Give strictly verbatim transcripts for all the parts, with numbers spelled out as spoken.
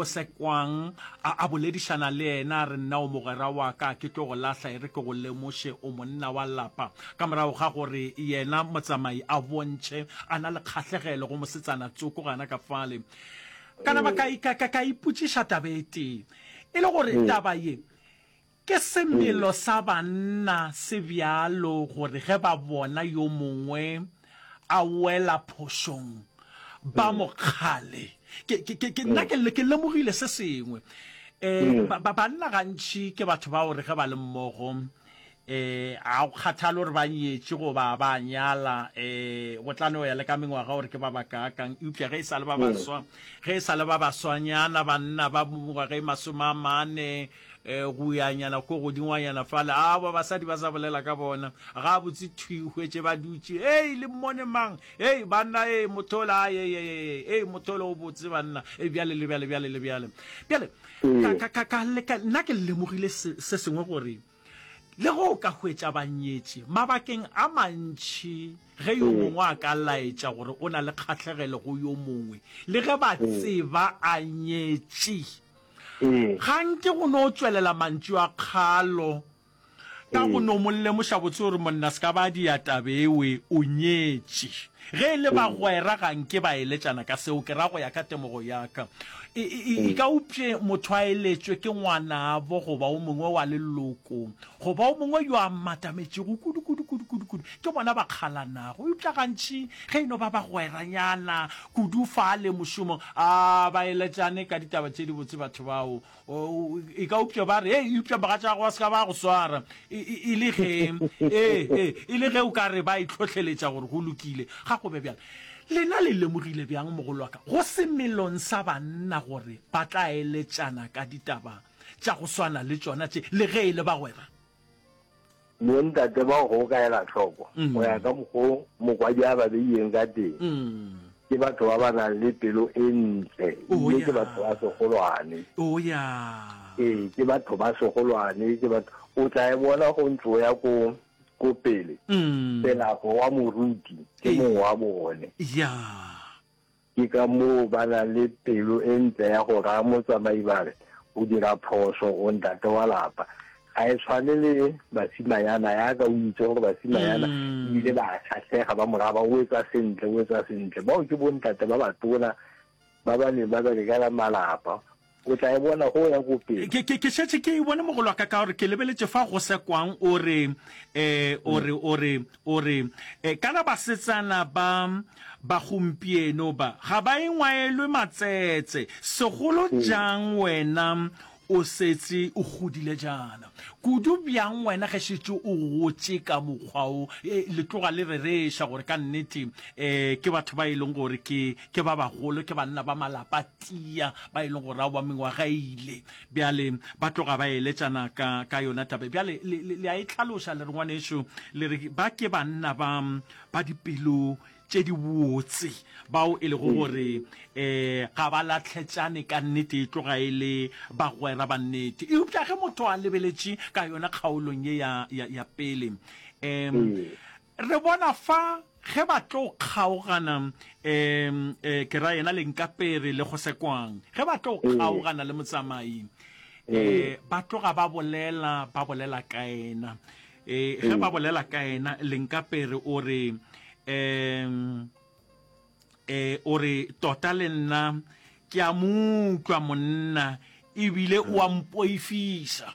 Gosekwang a, a boledišana le yena, a re, Nna o mogwera wa ka, ke tlo go lahla, e re ke go lemoše, o monna wa lapa. Ka morago ga gore yena motsamai a bontšhe a na le kgahlegelo go mosetsana tsoko gana ka fale, ka nama ka, ka, ka, ka ipotšiša taba e tee, e le gore taba ye ke semelo sa banna se bjalo gore ge ba bona yo mongwe a wela phošong ba mo kgale. Ke, ke, ke, ke, nna ke, ke lemogile se sengwe. Eh, ba, ba, banna gantši ke batho ba gore ge ba le mmogo, eh, ga go kgathale gore ba nyetše goba ba nyala, eh, go tla no ya le ka mengwaga gore ke ba bakaakang. Eupša ge e sa le ba baswa, ge e sa le ba baswanyana, banna ba mengwaga e masome a mane, eh, go yanyana ko godingwanyana fale, a ba basadi ba sa bolela ka bona gabotse thwi, hwetše ba dutše, ei le mmone mang, ei banna, ei motho ola, ei, ei, ei, ei motho ola o botse banna, ei bjale le bjale bjale le bjale bjale. Ka, ka, ka, ka, ka, nna ke lemogile se, se sengwe gore le ge o ka hwetša ba nyetše mabakeng a mantši, ge yo mongwe a ka laetša gore o na le kgahlegelo go yo mongwe, le ge ba tseba a nyetše, ga nke go no tšwelela mantšu a kgalo ka go no mo lemoša botse gore monna se ka ba dia tabewe, o nyetše. Ge e le bagwera ga nke ba eletšana ka seo, ke ra go ya ka temogo ya ka. E, e, e ka upše motho a eletšwe ke ngwanabo goba o mongwe wa leloko goba o mongwe yo a matametšego kudu kudu kudu kudu kudu, ke bona ba kgalanago. Eupša gantši ge e no ba bagweranyana kudu fale mošomong, a ba eletšane ka ditaba tše dibotse batho bao. E ka upša ba re, ei, eupša mogatšago wa se ka ba go swara, e le ge, ee, ee, e le ge o ka re ba itlhohleletša gore go lokile, ga go be bjalo. Lena le lemogile bjang, mogolo wa ka, go semelong sa banna gore ba tla eletšana ka ditaba tša go swana le tšona tše, le ge e le bagwera? Bontate bao go ka ela hloko, go ya ka mokgo mokwadi a ba beileng ka teng, ke batho ba ba nang le pelo e ntle, ebile ke batho ba segolwane. Ee, ke batho ba segolwane, ke batho, o tla e bona go ntse o ya ko ko pele, Pelago wa moruti ke mongwe wa bone. Ke ka moo ba nang le pelo e ntle ya go raya motsamai ba re, O dira phošo, o ntate wa lapa. Ga e tshwane le basimanyana, yaka o itse gore basimanyana ebile ba kgahlega, ba mo raya ba, o etsa sentle, o etsa sentle. Bao ke bontate ba batona ba ba neng ba berekela malapa. O tla e bona go ya ko pele. Ke, ke, ke šetše ke e bone, mogolo wa ka, ka gore ke lebeletše fa go Sekwang, o re, eh, o re, o re, o re, eh, kana basetsana ba, ba gompieno ba, ga ba engwaelwe matsetse, segolo jang wena o setše o godile jaana. Kudu bjang wena ge šetše o gotše ka mokgwa wo, e, le tloga le rereša gore ka nnete, eh, ke batho ba e leng gore ke, ke ba bagolo, ke banna ba malapa tia, ba e leng gore aowa mengwaga e ile. Bjale ba tloga ba eletšana ka, ka yona taba. Bjale le, le, le a e hlaloša, le re, ngwanešu, le re ba ke banna ba, ba dipelo tše di botse, bao e lego gore um ga ba lahletšane ka nnete, e tloga e le bagwera ba nnete. Eupša ge motho a lebeletše ka yona kgaolong ye ya, ya, ya pele, um re bona fa ge ba tlo kgaogana, um um ke ra yena Lenkapere le Gosekwang, ge ba tlo kgaogana le motsamai, um ba tloga ba bolela, ba bolela ka yena. E, ge ba bolela ka yena, Lenkapere o re, um e, o re, tota le nna ke a mo utlwa monna, ebile o a mpoifiša.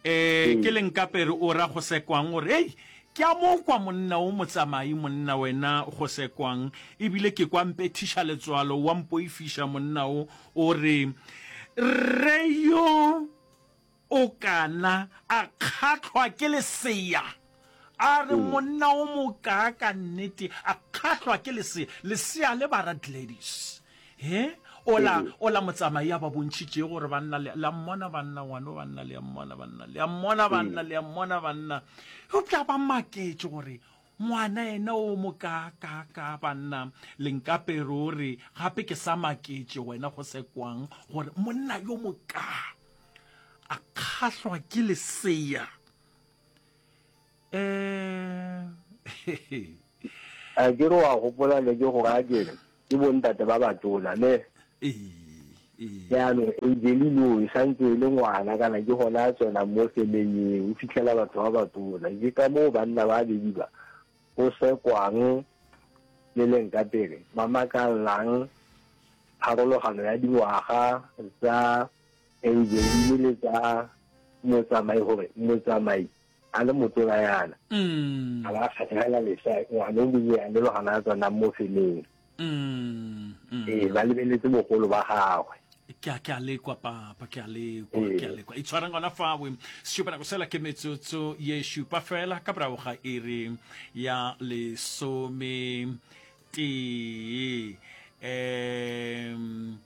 E, ke Lenkapere o ra Gosekwang, o re, hei, ke a mo kwa monna o motsamai, monna wena Gosekwang, ebile ke kwa mpethiša letswalo, o a mpoifiša monna o, o re, rre yo o kana a kgahlwa ke lesea. A re, Monna o mokaaka nnete, a kgahlwa ke lesea. Lesea le ba ra Gladys. He? Ola, ola motsamai a ba bontšhitšego gore banna, le, le a mmona banna, ngwano banna, le a mmona banna, le a mmona banna, le a mmona banna. Eupša ba maketše gore ngwana yena o mokaakaakaa banna. Lenkapere o re, gape ke sa maketše wena go se kwang gore monna yo mokaa a kgahlwa ke lesea. Eh, A ke re wa gopola ne ke go raya ke re ke bontate ba batona ne? Ee, Ee. Jaanong Angeline o e santse e le ngwana kana ke gona a tsena mo femeng eo, o fitlhela batho ba batona. Ke ka moo banna ba babedi ba, go sekwang le leng ka pele, ba makallang pharologano ya dingwaga tsa Angeline le tsa Motsamai gore Motsamai a le motona yana a ba kgatlhegela lesea ngwana o monnyane le gona a tsenang mo femeng. Ee, ba lebeletse bogolo ba gagwe. Ke a, ke a lekwa, Papa, ke a lekwa, ke a lekwa. Itshwareng gona fawe. Šupa nako sela ke metsotso ye šupa fela ka morago ga iri ya lesome tee. Um,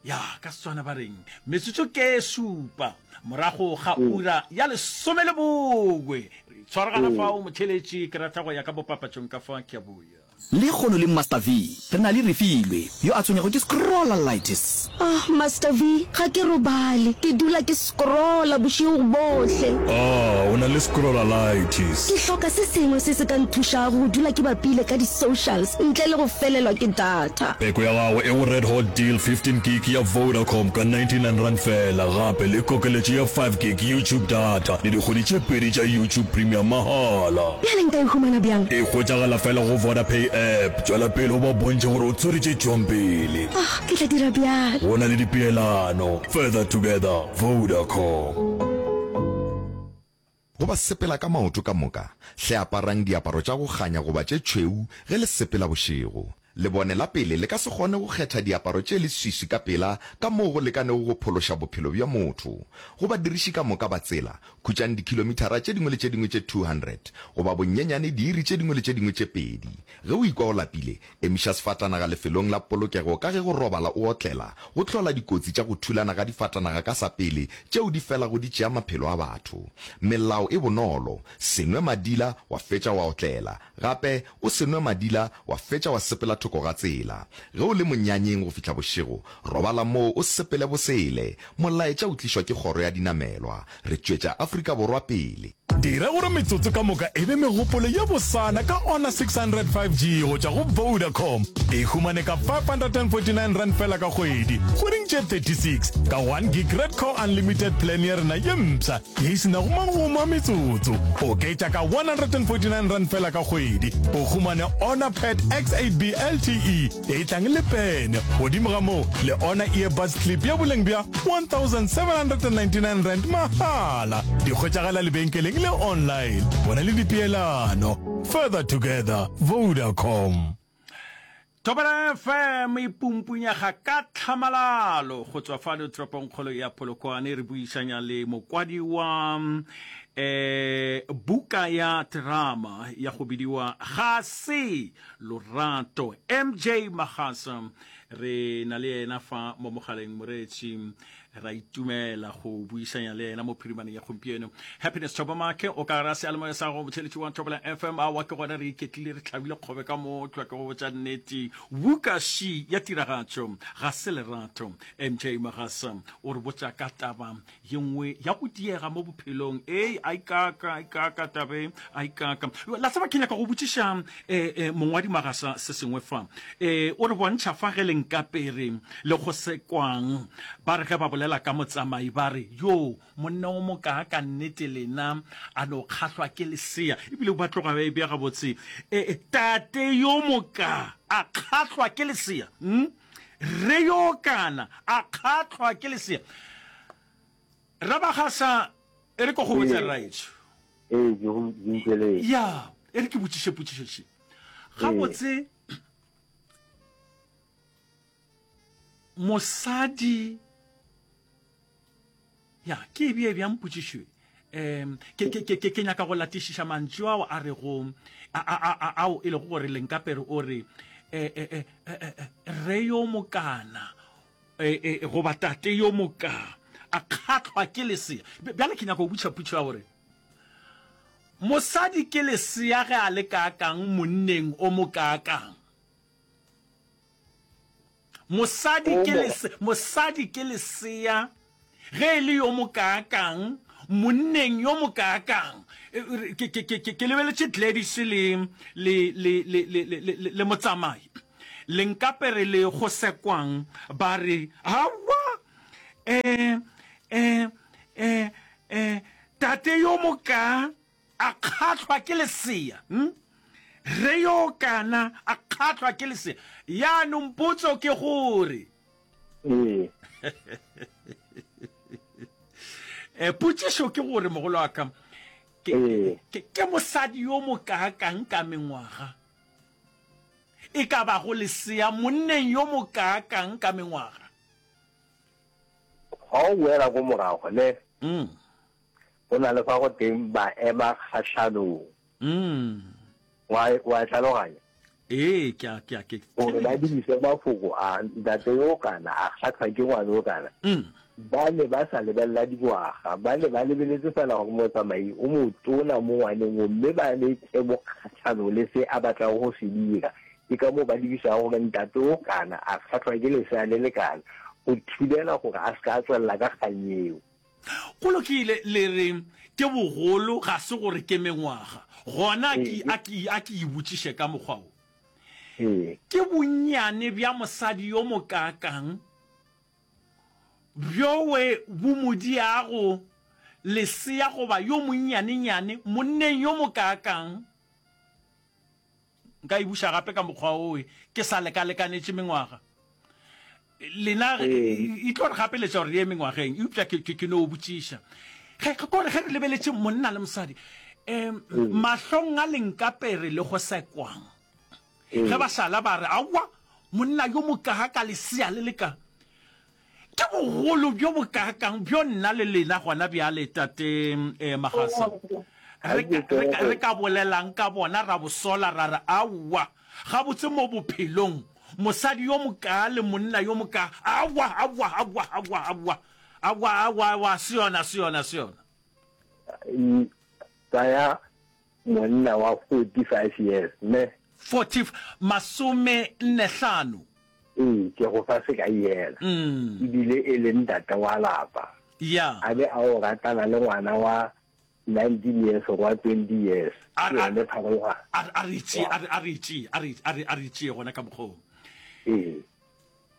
ya, ka Setswana ba reng? Metsotso ke šupa morago ga ura ya lesome le bongwe. Re itshwaragana fao, motheeletši, ke rata go ya ka bopapatšong ka fa, ke a boya. Lekgono le Master V re na le Refilwe yo a tshwenyago ke scrollalitis. Ah, Master V, ga ke robale. Ke dula ke scrolla bošego bohle. Ah, o na le scrollalitis. Ke hloka se sengwe se se ka nthušago go dula ke bapile ka di-socials ntle le go felelwa ke data. Peko ya gago e go Red Hot Deal fifteen gig ya Vodacom ka ninety-nine rand fela, gape le kokeletšo ya five gig YouTube data le dikgwedi tše pedi tša YouTube Premium mahala. Bjale nka e humana bjang? E hwetšagala fela go VodaPay app. Tšwela pele o ba bontšhe gore o tshwere tše tšwang pele. Ah, ke tla dira bjalo. Go na le dipeelano. Further together, Vodacom. Go ba sepela ka maoto ka moka, hle aparang diaparo tša go kganya goba tše tšhweu ge le sepela bošego. Lebone la pele le ka se kgone go kgetha diaparo tše leswiswi ka pela ka moo go lekanego go phološa bophelo bja motho. Go badiriši ka moka ba tsela, khutšang dikhilomithara tše dingwe le tše dingwe tše two hundred goba bonyenyane diiri tše dingwe le tše dingwe tše pedi. Ge o ikwa o lapile, emiša sefatanaga lefelong la polokego ka ge go robala o otlela go hlola dikotsi tša go thulana ga difatanaga ka sa pele tšeo di felago di tšea maphelo a batho. Melao e bonolo, se nwe madila wa fetša wa otlela. Gape, o se nwe madila wa fetša wa sepela thoko ga tsela. Ge o le monyanyeng go fihla bošego, robala moo o sepele bosele. Molaetša o tlišwa ke Kgoro ya Dinamelwa. Re tšwetša Afrika Borwa pele. Dira gore metsotso ka moka e be megopolo ye bosana ka Honor six hundred five G go tšwa go Vodacom. E humane ka five hundred and forty nine rand fela ka kgwedi, kgweding tše thirty six, ka one gig Redco Unlimited plan ya rena ye mpsha ye e se nago magomo a metsotso. Oketša ka one hundred and forty nine rand fela ka kgwedi, o humane Honor Pad X eight B L T E ye e tlang le pene. Godimo ga moo, le Honor Earbuds Clip ya boleng bja one thousand seven hundred and ninety nine rand mahala. Di hwetšagala lebenkeleng le online. Bona le dipeelano. Further together, Vodacom. Thobela F M e pumpunyega ka tlhamalalo go tswa fano toropongkgolo ya Polokwane. Re buišanya le mokwadi wa eh, buka ya terama ya go bidiwa Ga se Lorato, M J Magasa. Re na le yena fa mo mogaleng, moreetši. Ra itumela go buisanya le yena mo phirimaneng ya gompieno. Happiness Thobamake, o ka ra seyalemoya sa go motheletši wa Thobela F M. Aowa, ke gona re iketlile, re hlabile kgobe ka motlwa, ke go botša nnete. Buka ši ya tiragatšo ga se lerato. M J Magasa o re botša ka taba ye nngwe ya go diega mo bophelong. Ei, a ikaka, a ikaka tabe, a ikaka. La tseba, ke nyaka go botšiša, eh, eh, mongwadi Magasa se sengwe fa. Eh, o re bontšha fa ge le nkapere le go sekwang. Ba re ge ba bolela ka motsamai ba re, yo, monna o mokaaka nnete lena, a no kgahlwa ke lesea. Ebile ba tloga ba e bea gabotse. Eh, eh, tate yo moka a kgahlwa ke lesea. Hmm? Re yo kana a kgahlwa ke lesea. Rabagasa, e re ke go botse Ee. rraetsho. Ee, ke go utlweletse. Ya, e re ke botšiše potšišo še. Gabotse mosadi, ya, ke e bee bjang potšišo e? Em, ke, ke, ke, ke, ke nyaka go latišiša mantšu ao a rego, a, a, a, a, ao e lego gore Lenkapere o re, e, e, e, e, e, re yo mokana, e, e, goba tate yo moka a kgahlwa ke lesea. Bjale ke nyaka go botšiša potšišo ya gore mosadi ke lesea ge a le kaakang monneng o mokaakang? Mosadi ke lese, mosadi ke lesea ge e le yo mokaakang monneng yo mokaakang? Ke, ke, ke, ke, ke lebeletše Gladys le, le, le, le, le, le, le, le motsamai. Lenkapere le go sekwang ba re, Aowa, Eh, eh, eh, eh, tate yo moka a kgahlwa ke lesea. Hm? Re yo kana a kgahlwa ke lesea. Yaanong potso ke gore. Ee. Eh, potšišo ke gore mogolo wa ka, ke, Ee. ke, ke mosadi yo mokaakang ka mengwaga e ka bago lesea monneng yo mokaakang ka mengwaga? Ga o boela ko morago, ne? Mm. Go na le fa go teng ba ema kgahlanong. Mm. Wa, wa e tlhaloganya? Ee, ke a, ke a, ke Gore ba theeletša. dirise mafoko a, ntate yo kana a kgahlwa ke ngwana yo kana. Mm. Ba ne ba sa lebelela dingwaga, ba ne ba lebeletse fela gore motsamai o motona mo ngwaneng wo, mme ba le tebo kgahlanong le se a batlago go se dira. Ke ka moo ba lebišago gore ntate o kana a kgahlwa ke lesea le lekana, go thibela gore a se ka a tswelela ka kgang yeo. Go lokile, le re ke bogolo, ga se gore ke mengwaga. Gona a ke, a ke, a ke e botšiše ka mokgwa wo. Ee. Ke bonnyane bja mosadi yo mokaakang bjowe bo mo diago lesea goba yo monnyanenyane monneng yo mokaakang? Nka e buša gape ka mokgwa owe ke sa lekalekanetše mengwaga. Lena e tlo re gapeletša gore re ye mengwageng, eupša ke, ke, ke no botšiša. Ge, ke gore ge re lebeletše monna le mosadi, um mahlong a lenkapere le go sekwang, ge ba šala ba re, Aowa, monna yo mokaaka lesea le le ka. Ke bogolo bjo bokaakang bjo nna le lena gona bjale, Tate eh, Magasa, re ka, re ka, re ka bolelang ka bona, ra bo sola, ra re, Aowa, gabotse mo bophelong, mosadi yo mokaa le monna yo mokaa, aowa, aowa, aowa, aowa, aowa, aowa, aowa, aowa, se yona, se yona, se yona. Tsaya monna wa forty five years, ne? Forty, masome nne hlano. Ee, ke go fa sekai yena, e bile e le ntate wa lapa, Ya. a be a o ratana le ngwana wa nineteen years or wa twenty years. A, Ke a, yone pharologano. a, a re tšee, a re, a re tšee, a re, a re, a re tšee gona ka mokgwa wo. Ee.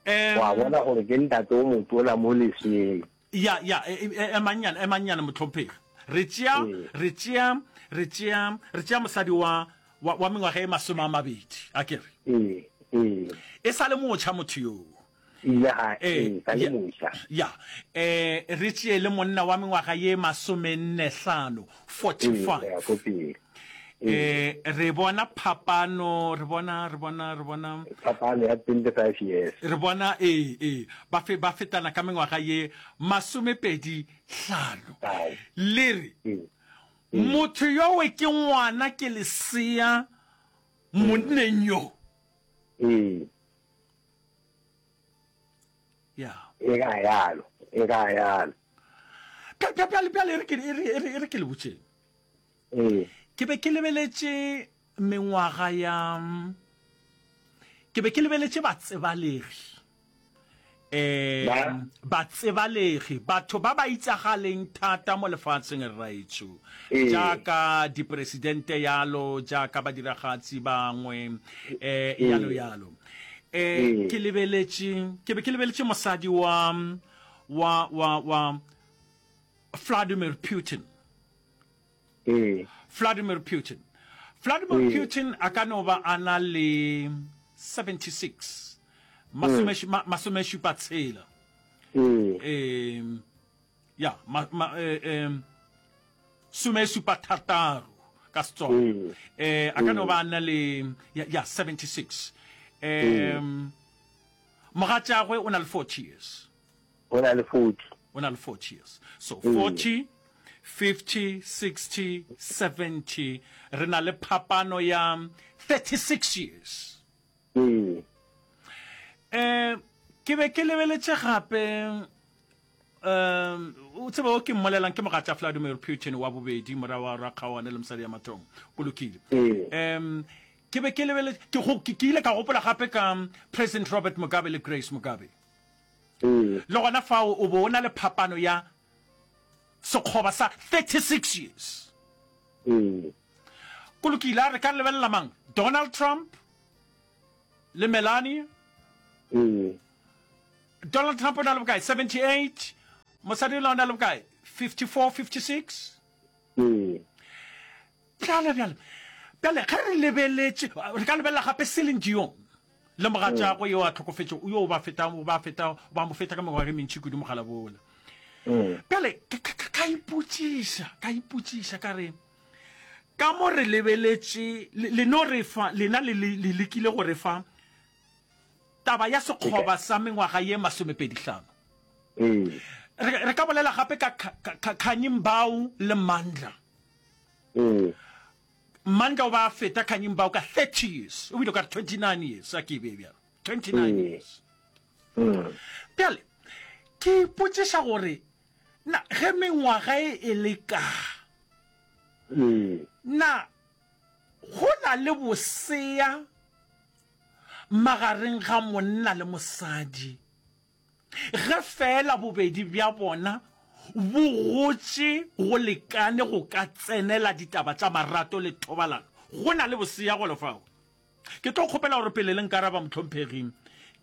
Em, Wa bona gore ke ntate o motona mo leseeng. Ya, ya, e, e, emang nyana, emang nyana, mohlomphegi. Re tšea, Ee. re tšea, re tšea, re tšea mosadi wa, wa, wa mengwaga e masome a mabedi, a ke re. Ee, ee. E sa le motšha motho yoo. Ile ga, Ee, ee, sa le ya, motšha. ya. Eh, re tšee le monna wa mengwaga ye masomenne hlano, forty Ee, go ya five. ko pele. Ee. Eh, re bona phapano, re bona, re bona, re bona. Phapano ya twenty five years. Re bona, ee, ee, ba fe, ba fetana ka mengwaga ye masomepedi hlano. Five. Le re, Ee. Motho yowe ke ngwana, ke lesea monneng yo. Ee. Ya. E ka yalo, e ka yalo. Bjale, bjale, e re ke, e re, e re, e re ke le botšeng. Ee. Ke be ke lebeletše mengwaga ya, ke be ke lebeletše batsebalegi. Um Ba? Batsebalegi, batho ba ba itsagaleng thata mo lefatsheng rraetsho, Ee. jaaka dipresidente yalo, jaaka badiragatsi bangwe, um yalo Ee. yalo. Um Ee. ke lebeletše, ke be ke lebeletše mosadi wa, wa, wa, wa Vladimir Putin. Ee. Vladimir Putin. Vladimir Ee. Putin a ka no ba a na le seventy six, masome, ma, masome šupa tshela. Ee. Um, ya, ma, ma, eh, um, some šupa thataro ka Setswana. Ee. Eh, a ka no Ee. ba a na le, ya, ya, seventy six. Ee. Um, mogatšagwe o na le forty years. O na le forty. O na le forty years. So Ee. forty, fifty, sixty, seventy, re na le phapano ya thirty six years. Ee. Eh, ke be ke lebeletše gape, um, o tsebe o ke mmolelang ke mogatša Vladimir Putin wa bobedi, mora wa Rakgaoane le mosadi ya Mathong. Go lokile. Ee. Um, ke be ke lebeletše, ke go, ke, ke ile ka gopola gape ka President Robert Mugabe le Grace Mugabe. Ee. Le gona fao o bo o na le phapano ya sekgoba sa thirty six years. Ee. Go lokile, a re ka lebelela mang? Donald Trump le Melania? Ee. Donald Trump o na le bokae? seventy-eight. Mosadi yola o na le bokae? fifty-four, fifty-six? Ee. Bjale, bjale, bjale, ge re lebeletše, re ka lebelela gape Celine Dion le mogatšagwe yo a hlokofetšego, yo o ba feta, o ba feta, o ba mo feta ka mengwaga e mentši kudu mogala bola. Bjale, ka, ka, ka, ka ipotšiša, ka ipotšiša, ka re, ka mo re lebeletše, le, le no re fa, lena le, le, le lekile go re fa taba ya sekgoba sa mengwaga ye masomepedi hlano. Ee. Re, re ka bolela gape ka Kha-, Kha-, Kha-, Khanyi Mbau le Mandla. Ee. Mandla o ba feta Khanyi Mbau ka thirty years, o bile o ka re twenty-nine years, a ke e bee bjalo, twenty-nine Ee. years. Mm. Bjale, ke ipotšiša gore, na ge mengwaga e e le ka, Ee. na go na le bosea magareng ga monna le mosadi, ge feela bobedi bja bona bo gotše go lekane go ka tsenela ditaba tša marato le thobalano? Go na le bosea golo fao? Ke tlo kgopela gore pele le nkaraba, mohlomphegi,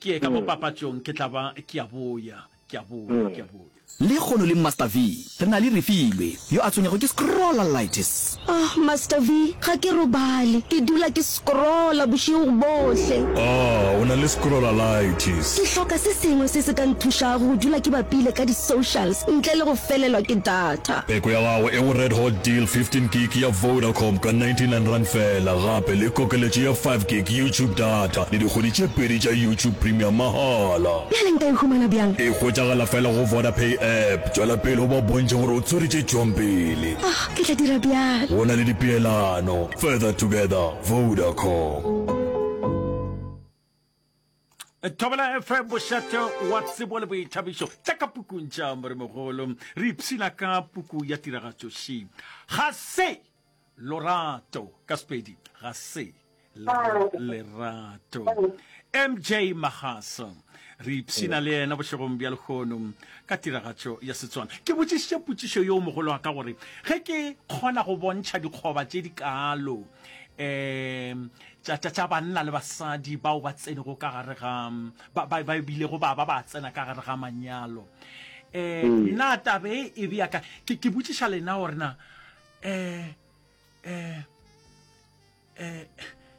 ke ye ka mo papatšong, ke tla ba ke a boya, ke a boya, ke a boya. Lekgono le Master V, re na le Refilwe, yo a tshwenyago ke scrollalitis. Oh, Master V, ga ke robale. Ke dula ke scrolla bošego bohle. Ah, o na le scrollalitis. Ke hloka se sengwe se se ka nthušago go dula ke bapile ka di-socials ntle le go felelwa ke data. Pheko ya gago e go Red Hot Deal fifteen gig ya Vodacom ka ninety-nine rand fela, gape le kokeletšo ya five gig YouTube data le dikgwedi tše pedi tša YouTube Premium mahala. Bjale nka e humana bjang? E hwetšagala fela go Vodapay app. Tšwela pele o ba bontšhe gore o tswere tše tšwang pele. Ah, ke tla dira bjalo. Go na le dipeelano. Further together, Vodacom. Thobela F M, bošate wa tsebo le boithabišo tša ka pukung tša Moremogolo. Re ipshina ka puku ya tiragatšo ši. Ga se lorato ka Sepedi, ga se lerato. M J Magasa, re ipshina le yena bošegong bja lehono ka tiragatšo ya Setswana. Ke botšišitše potšišo yeo mogolo wa ka gore ge ke kgona go bontšha dikgoba tše di kaalo, em, tša, tša, tša banna le basadi bao ba tsenego ka gare ga, ba, ba, ba bilego ba ba ba tsena ka gare ga manyalo. Eh, Mm. na taba e e bea ka, ke, ke botšiša lena gore na, eh, eh, eh,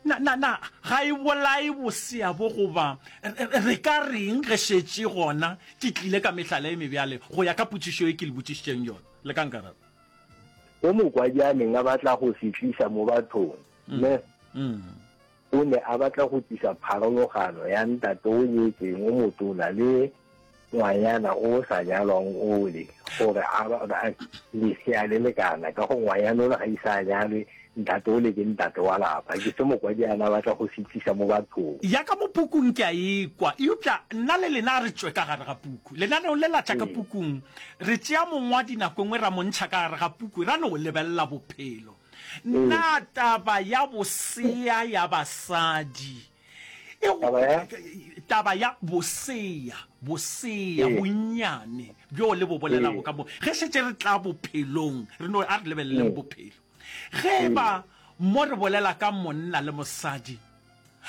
na, na, na, ga e bolae bosea bo goba, re, re, re ka reng ge šetše gona ke tlile ka mehlala e mebjale go ya ka potšišo e ke le botšišitšeng yona? Le ka nkaraba. Se mokwadi a neng a batla go se tlisa mo bathong, Mm. ne? Mm. O ne a batla go tlisa pharologano ya ntate o nyetseng o motona le ngwanyana o sa nyalwang ole, gore a ba, a, lesea le lekana, ka go ngwanyana ole ga ise a nyalwe, ntate ole ke ntate wa lapa. Ke se mokwadi a na batla go se tlisa mo bathong. Ya ka mo pukung ke a ekwa, eupša nna le lena re tšwe ka gare ga puku. Lenaneo le la tša ka Ee. pukung, re tšea mongwadi nako e nngwe ra mo ntšha ka gare ga puku, ra no lebelela bophelo. Ee. Na taba ya bosea ya basadi e go, Taba ya? taba ya bosea, bosea, Ee. bonnyane bjo le bo bolelago Ee. ka mo, ge šetše re tla bophelong, re no, a re lebeleleng Mm. bophelo. Ge Ee. ba mo re bolela ka monna le mosadi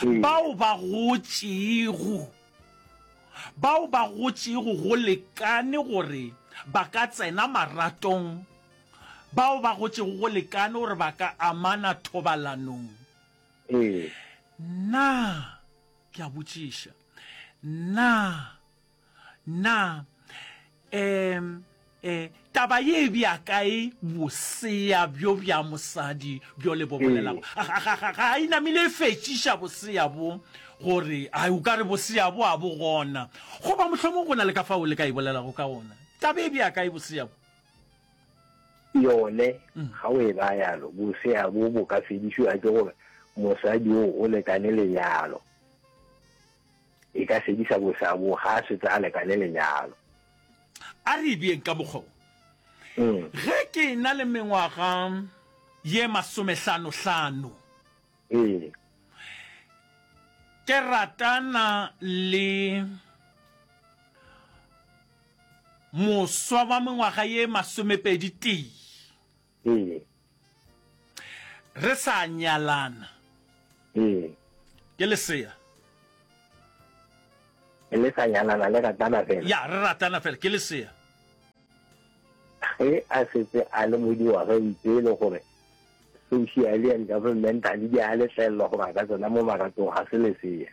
Ee. bao ba gotšego, bao ba gotšego go lekane gore ba ka tsena maratong, bao ba gotšego go lekane gore ba ka amana thobalanong. Ee. Na, ke a botšiša, na, na, em, eh, taba ye e bea kae bosea bjo bja mosadi bjo le bo bolelago? Ee. Ga, ga, ga, ga e namile e fetšiša bosea bo gore, ai, o ka re bosea bo a bo gona. Goba mohlomong go na le ka fao le ka e bolelago ka ona. Taba e bea kae bosea bo? Yone, Mm. ga o e ba yalo, bosea bo bo ka fedišwa ke gore mosadi o o lekane lenyalo. E ka fedisa bosea bo ga a setse a lekane lenyalo. A re e beeng ka mokgwa wo. Mm. Ge ke na le mengwaga ye masomehlanohlano, Ee. ke ratana le moswa wa mengwaga ye masomepedi tee. Ee. Re sa nyalana. Ee. Ke lesea. Le sa nyalana, le ratana fela? Ya, re ratana fela, ke lesea. Ge a setse a le mo dingwageng tse e le gore socially and governmentally di a letlelelwa gore a ka tsena mo maratong, ga se lesea.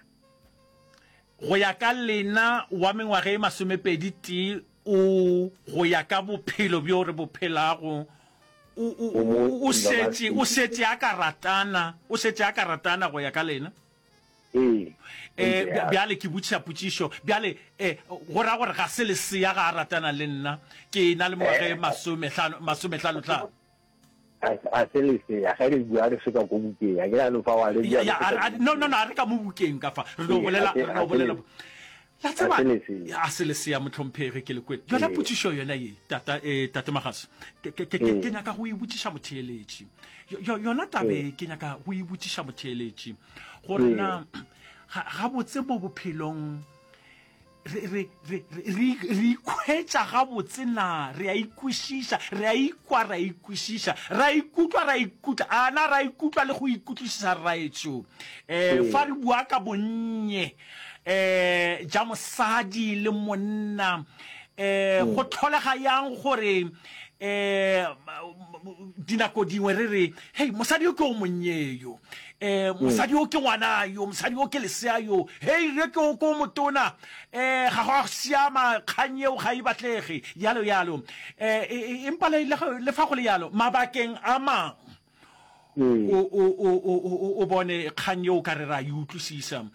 Go ya ka lena, wa mengwaga e masomepedi tee o, go ya ka bophelo bjo re bo phelago, o, o, o, o šetše, o šetše a ka ratana, o šetše a ka ratana go ya ka lena? Ee. Eh, bjale ke botšiša potšišo. Bjale, eh, go ra gore ga se lesea ga a ratana le nna. Ke na le mengwaga e masomehlano, masomehlano hlano. A se lesea, ge re bua re se ka ko bukeng. A ke ra no fa wa le bua. Ya, a, no, no, no, a re ka mo bukeng ka fa. Re no bolela, re no bolela. La tseba, a se lesea mohlomphegi ke le kwele. Yona potšišo yona ye, tata, eh, tate Magase, ke, ke, ke, ke nyaka go e botšiša motheeletši. Yona tabe ke nyaka go e botšiša motheeletši. Gore na gabotse mo bophelong re, re, re, re, re ikhwetša gabotse na? Re a ikwešiša, re a ikwa, ra ikwešiša, ra ikutlwa, ra ikutlwa, a na ra ikutlwa le go ikutlwišiša rraetsho? Um fa re bua ka bonnye um ja mosadi le monna, um go tlholega yang gore um dinako dingwe re re, hei, mosadi yo ke o monnye yo, um mosadi yo ke ngwana yo, mosadi yo ke lesea yo, hei, re ke o ko motona, um ga go a siama, kgang yeo ga e batlege, yalo yalo. Um empa le, le fa go le yalo, mabakeng a mang, o, o, o, o, o bone kgang yeo ka re ra e utlwisisa, um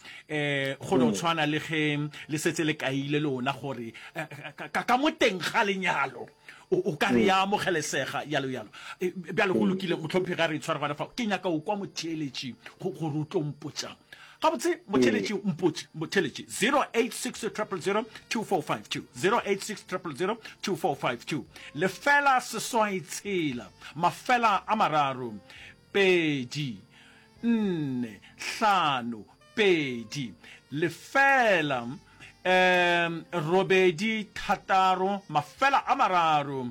go no tshwana le ge le setse le kaile lona gore ka, ka mo teng ga lenyalo o, o ka re ya amogelesega, yalo yalo. Bjale go lokile, mohlomphegi, a re itshware gona fao. Ke nyaka o kwa motheeletši go, gore o tlo mpotšang. Gabotse, motheeletši, mpotše, motheeletši, zero eight six triple zero two four five two, zero eight six triple zero two four five two, lefela seswai tshela, mafela a mararo, pedi, nne, hlano, pedi, lefela, um, robedi, thataro, mafela a mararo,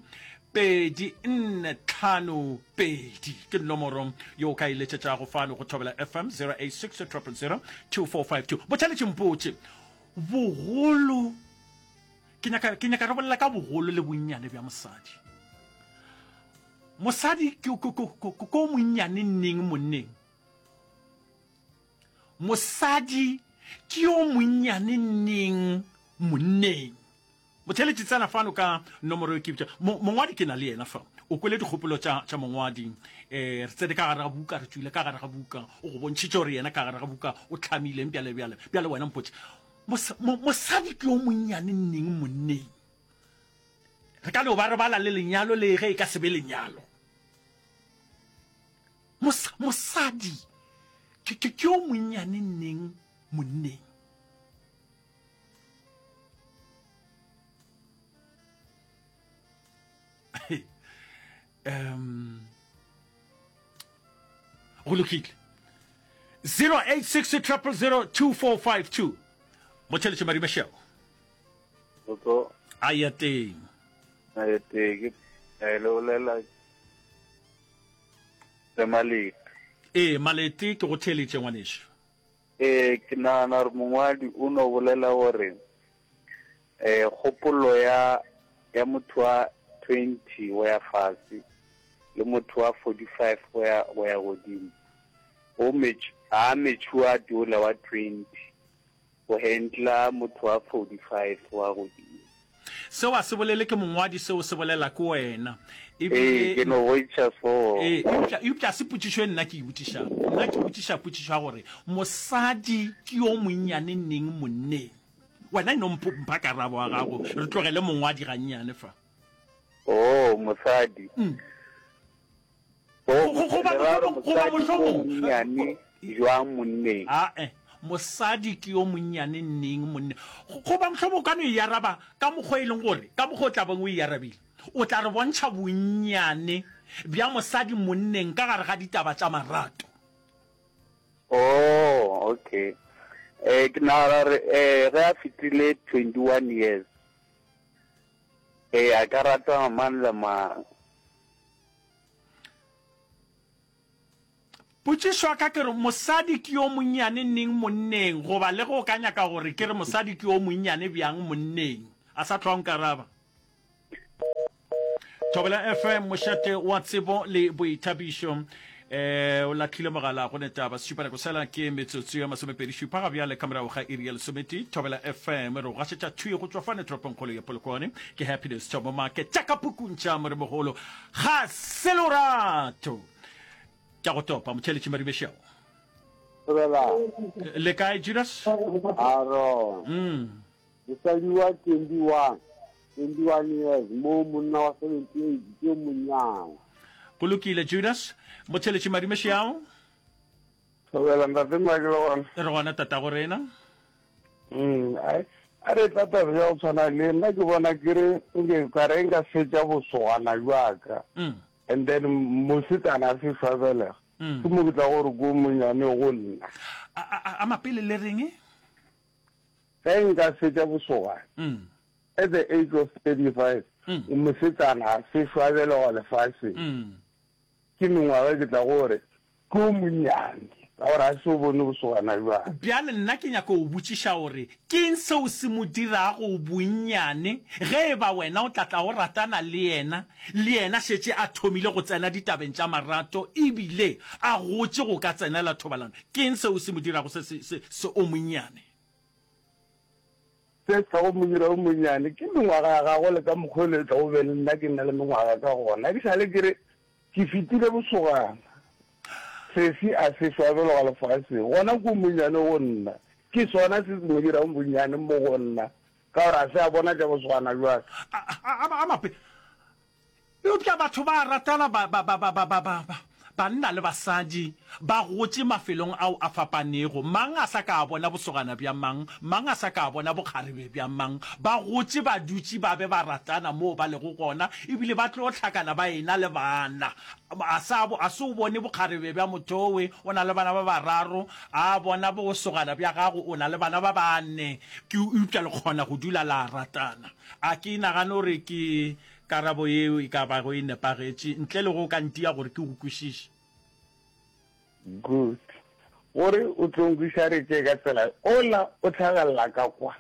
pedi, nne, tlhano, pedi. Ke nomoro yo o ka e letšetšago fano go Thobela F M, zero eight six triple zero two four five two. Botheletši mpotše, bogolo, ke nyaka, ke nyaka re bolela ka bogolo le bonnyane bja mosadi. Mosadi ke, ke, ke, ke, ke o monnyane neng monneng? Mosadi ke yo monnyane neng monneng? Motheeletši tsena fano ka nomoro e ke bitša. Mo, mongwadi ke na le yena fa. O kwele dikgopolo tša, tša mongwadi. E, re tsene ka gare ga buka, re tšwile ka gare ga buka. O go bontšhitše gore yena ka gare ga buka o hlamileng bjale, bjale. Bjale wena mpotše, mos, mo, mosadi ke yo monnyane neng monneng? Re ka no ba re bala le lenyalo le ge e ka se be lenyalo. Mos, mosadi ke, ke, ke yo monnyane neng monneng? Um go lokile. Zero eight six triple zero two four five two. Motheletše Marie Michelle. Botso. A ya teng. A ya teng. Ke eh, le bolela le Malete. Ee, Malete, ke go theeletše ngwanešu. Ee, ke nagana gore mongwadi o no bolela gore eh kgopolo ya ya motho wa twenty go ya fase le motho wa forty-five go ya go ya godimo o mech a matured ola wa twenty go handla motho wa forty-five wa godimo. Seo a se bolele ke mongwadi, seo se bolela ke wena. Ee, Ebile ke no bontšha so. Ee, eupša, eupša se potšišo e nna ke e botšišago. Nna ke botšiša potšišo ya gore mosadi ke yo monnyane neng monneng. Wena e no mpo, mpha karabo ya gago, re tlogele mongwadi gannyane fa. Oh, mosadi. Mm. Oh, Go, goba le ra gore mohlomong, goba mosadi ke yo mohlomong. monnyane jwang monneng? Ae, mosadi ke yo monnyane neng monneng? Goba mohlomong o ka no e araba ka mokgwa e leng gore, ka mokgwa o tla beng o e arabile. O tla re bontšha bonnyane bja mosadi monneng ka gare ga ditaba tša marato. Oh, okay. Eh, ke nagana gore, eh, ge a fetile twenty-one years, eh, a ka rata mang le mang. Potšišo ya ka ke re, mosadi ke yo monnyane neng monneng? Goba le ge o ka nyaka gore ke re mosadi ke yo monnyane bjang monneng? A sa hlwa nkaraba. Thobela F M, mošate wa tsebo le boithabišo. Eh, o lahlile mogala go ne taba. Sešupanako sela ke metsotso ya masomepedi šupa ga bjale ka morago ga iri ya lesometee. Thobela F M re go gašetša thwi go tšwa fane toropongkgolo ya Polokwane. Ke Happiness Thomo Make tša ka pukung tša Moremogolo. Ga se lorato. Tša go topa motheeletši Maribešeo. Thobela. Le kae Judas? Aro. Mm. Mosadi wa twenty-one, twenty-one years, mo monna wa seventy-eight ke yo monnyane. Go lokile Judas. Motheeletši Maribešeo. Thobela ntate Mike le gona. Re gona tatago rena. Mm, ai a re tla taba ya go tshwana le nna ke bona ke re nke ka re nka fetša bosogana bjaka. Mm. And then mosetsana a sešo a belega, Mm. ke mo ke tla gore ko monyane go nna. A, a, a mapele le reng? Ge nka fetša bosogana, Mm. at the age of thirty-five, Mm. mosetsana a sešo a belegwa lefaseng, Mm. ke mengwaga ke tla gore ko monyane, ka gore a se o bone bosogana bjang. Bjale nna ke nyaka go botšiša gore ke eng seo se mo dirago bonnyane ge e ba wena o tla tla o ratana le yena, le yena šetše a thomile go tsena ditabeng tša marato ebile a gotše go ka tsenela thobalano. Ke eng seo se mo dirago se, se, se, se o monnyane? Se tla go mo dira o monnyane ke mengwaga ya gagwe le ka mokgwa o le tla go be le nna ke nna le mengwaga ka gona. Ke sa le ke re ke fetile bosogana. Sesi a se šwabelwa lefaseng, gona ko monnyane go nna. Ke sona se se mo dirang bonnyane mo go nna, ka gore a se a bona tša bosogana bjaka. A, a, a, a mape. Eupša batho ba ratana ba, ba, ba, ba, ba, ba, ba, ba, banna le basadi ba gotše mafelong ao a fapanego. Mang a sa ka a bona bosogana bja mang, mang a sa ka a bona bokgarebe bja mang. Ba gotše ba dutše ba be ba ratana moo ba lego gona, ebile ba tlo hlakana ba ena le bana. A sa, a se o bone bokgarebe bja mothowe, o na le bana ba bararo, a bona bosogana bja gago, o na le bana ba bane, ke eupša le kgona go dula la ratana. A ke nagane gore ke karabo yeo e ka bago e nepagetše, ntle le go ka ntia gore ke go kwešiše. Good. Gore o tlo nkweša re tše ka tsela ola o tlhagelela ka kwa.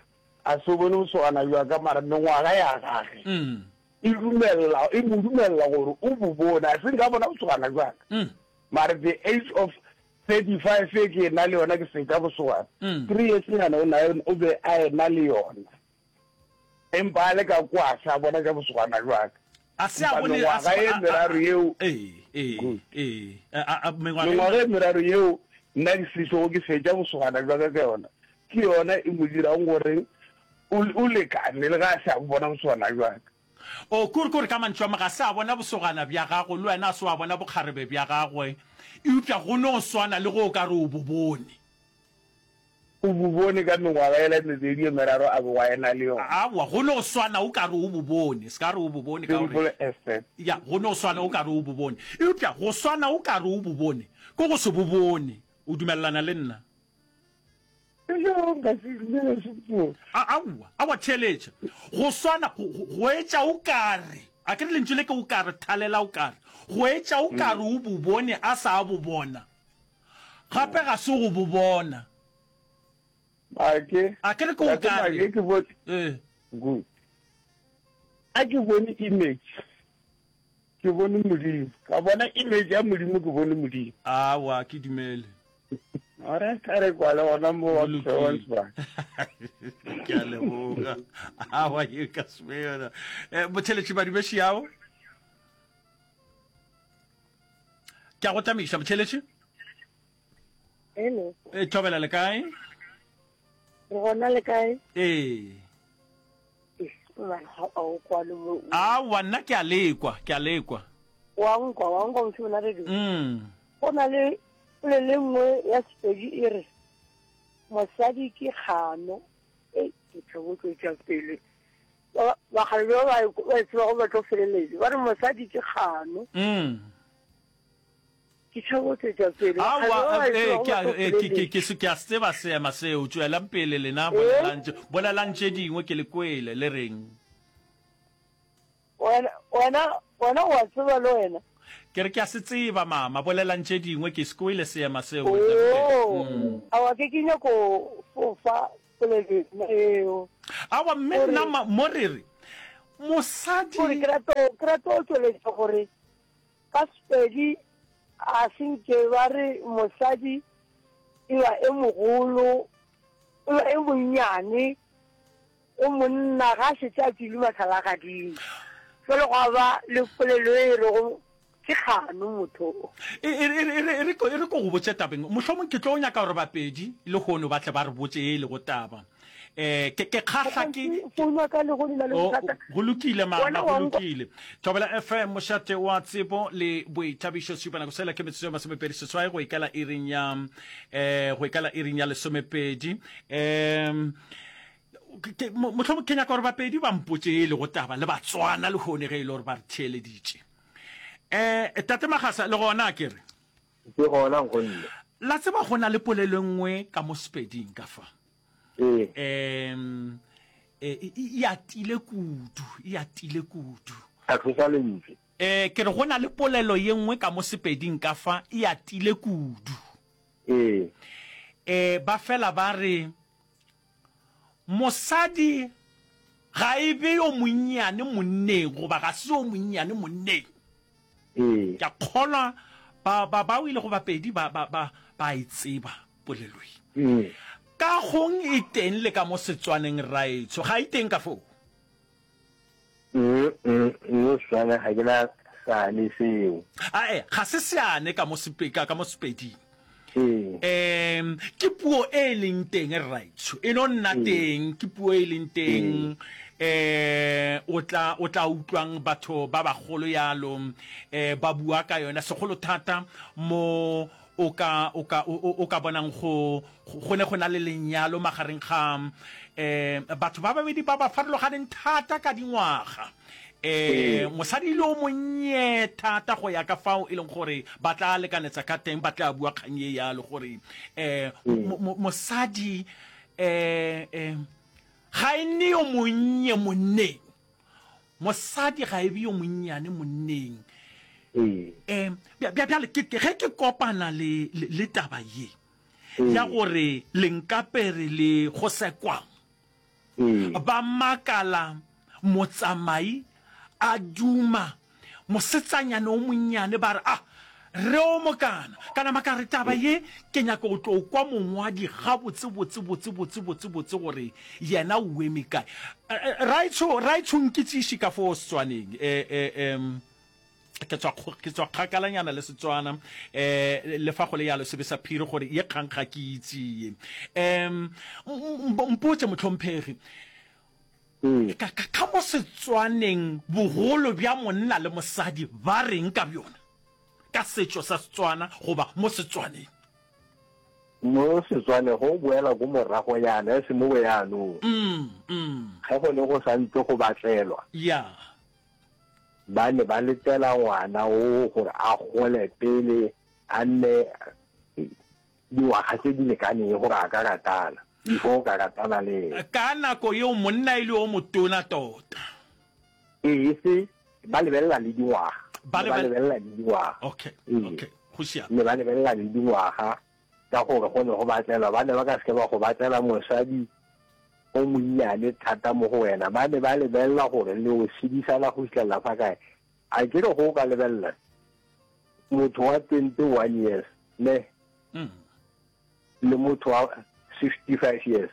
A se o bone bosogana bja ka mara mengwaga ya gage. Mm. E dumella, e mo dumella gore o bo bone. A se nka bona bosogana bja ka. Mm. Mara the age of thirty-five e ke na le yona ke fetša bosogana. Mm. Three years nyana o na o be a ena le yona. Empa a le ka kwa sa bona tša bosogana bja ka. A se a bone, Mengwaga a se- e a- a- meraro yeo. Ee, ee, Good. ee. A, a, a, mengwaga e Mengwaga e meraro yeo nna ke sešogo ke fetša bosogana bja ka ka yona. Ke yona e mo dirang gore o, o lekane le ga a se a bona bosogana bja ka. O, kore, kore ka mantšu a ma, ga se a bona bosogana bja gago, le wena a se wa bona bokgarebe bja gagwe, eupša go no swana le ge o ka re o bo bone. O bo bone ka mengwaga yela e mebedi e meraro a bego a ena le yona. Aowa, go no swana o ka re o bo bone. Se ka re o bo bone ka gore. Simple as that. Ya, go no swana o ka re o bo bone. Eupša go swana o ka re o bo bone, ke go se bo bone. O dumelelana le nna? Yo, nka se dumele se. A, aowa, aowa, theeletša. Go swana, go, go, go etša o ka re, a ke re lentšu le ke o ka re, thalela o ka re, go etša o ka re o bo bone a sa bo bona. Gape ga se go bo bona. A ke, A ke re ke o Tate ka re. Make, ke bone. Ee. Good. A ke bone image. Ke bone Modimo. Ka bona image ya Modimo, ke bone Modimo. Aowa, ke dumele. Ora ka re kwale gona mo wa Go lokile. Johannesburg. Ke a leboga. Aowa, ye ka se be yona. Eh, motheeletši Madibeši ao. Ke a go tamiša, motheeletši. Hello. E, thobela le kae? Re gona le kae? Ee. Eh, man, ha o kwale mo. Aowa, nna ke a lekwa, ke a lekwa. Wa nkwa, wa nkwa mošomo na radio. Mm. Go na le polelo e nngwe ya Sepedi e re mosadi ke kgano. E, ke tlo tšwetša pele. Ba, bakgalabje ba ba, ba e tsebago ba tlo feleletša. Ba re mosadi ke kgano. Mm. Ke tšhabo tšwetša pele. Aowa, Bakgalabje ba ba e eh, tsebago ke ba a, tlo eh, ke, ke, feleletša. ke se, ke a se tseba seema seo. Tšwelang pele lena, Eh? bolelang tše, bolelang tše dingwe ke le kwele, le reng? Wena, wena, wena o a tseba le wena. Ke re ke a se tseba mama, bolelang tše dingwe, ke se kwele seema seo. Oo, Mm. aowa ke ke nyako fofa polelo yona eo. Aowa mme Gore- nna ma- mo re re mosadi Gore ke rata go- ke rata go tšweletša gore ka Sepedi a se nke ba re mosadi e ba e mogolo, e ba e monnyane, o monna ga a šetše a tšwile mahlalagading. Jwale gwa ba le polelo e rego ke kgano motho o. E, e, e, e, e, re ko, e re ko go botše tabeng. Mohlomong ke tlo nyaka gore Bapedi lehono ba tle ba re botše ye e lego taba. Eh, ke, ke kgahla ke. Founu ya ka lehono e na le O, bothata. go lokile mama, Wena go wa nkwa? lokile. Thobela F M, mošate wa tsebo le boithabišo, šupa nako sela ke metsotso e masomepedi seswai go ikela iring ya, eh, go ikela iring ya lesomepedi. Um, mohlomong ke nyaka gore Bapedi ba mpotše e lego taba le Batswana lehono ge e le gore ba re theeleditše. Um, Tate Magasa, le gona a ke re? Ke gona, nkgonne. La tseba go na le polelo e nngwe ka mo Sepeding ka fa. Ee. Um, e, e atile kudu, e atile kudu. Tlhatloša lentšu. Um, ke re go na le polelo ye nngwe ka mo Sepeding ka fa, e atile kudu. Ee. Um, ba fela ba re, Mosadi ga e be yo monnyane monneng, goba ga se yo monnyane monneng. Ee. Ke a kgolwa ba, ba, bao e lego Bapedi ba, ba, ba, ba a e tseba polelo ye. Ee. Ka gong e teng le ka mo Setswaneng, rraetsho, ga e teng ka foo? Mm, mm, mo Setswaneng ga ke na seane seo. Ae, ga se seane ka mo sepe, ka, ka mo Sepeding. Ee. Um, ke puo e e leng teng, rraetsho. E no nna Ee. teng, ke puo e leng teng. Ee. Eh, o tla, o tla utlwang batho ba bagolo yalo, eh, ba bua ka yona, segolo thata mo o ka, o ka, o, o, o ka bonang go, go ne go na le lenyalo magareng ga, eh, batho ba babedi ba ba farologaneng thata ka dingwaga. Eh, Ee. mosadi e le o monnye thata go ya ka fao e leng gore ba tla lekanetsa ka teng, ba tla bua kgang ye yalo gore, eh, Ee. mo, mo, mosadi, eh, eh, ga e nne yo monnye monneng. Mosadi ga e be yo monnyane monneng. Ee. Eh, bja, bja, bjale ke, ke, ge ke kopana le, le, le taba ye ya Ee. gore Lenkapere le Gosekwang Ee. ba makala motsamai a duma mosetsanyana o monnyane, ba re, Ah, re o mokana. Ka nama ka re, Taba ye ke nyaka go tlo kwa mongwadi gabotse, botse, botse, botse, botse, botse gore yena o eme kae. Raetsho, raetsho nkitsiše ka fo Setswaneng. E, e, e, ke tswa, ke tswa kgakalanyana le Setswana. E, le fa go le yalo, sebe sa phiri gore ye kgang ga ke itse ye. Um, mpotše, mohlomphegi, Ee. ka, ka, ka mo Setswaneng bogolo bja monna le mosadi ba reng ka bjona? Ka setšo sa Setswana goba mo Setswaneng? Mo Setswaneng go boela ko moragonyana, e se mo boyaanong. Mm, mm. Ge go ne go sa ntse go batlelwa. Ya. Ba ne ba letela ngwana oo gore a gole pele a nne dingwaga tse di lekaneng gore a ka ratana, before o ka ratana le ena. Ka nako yeo monna e le yo motona tota. Ee, e se ba lebelela le dingwaga. Ba Ne ba lebel- lebelela le dingwaga. Okay, Ee. okay, go siame. Ne ba lebelela le dingwaga ka gore go ne go batlelwa, ba ne ba ka se ke ba go batlela mosadi o monnyane thata mo go wena. Ba ne ba lebelela gore le o sedisana go fihlelela fa kae. A ke re go o ka lebelela motho wa twenty-one years ne Mm. le motho wa sixty-five years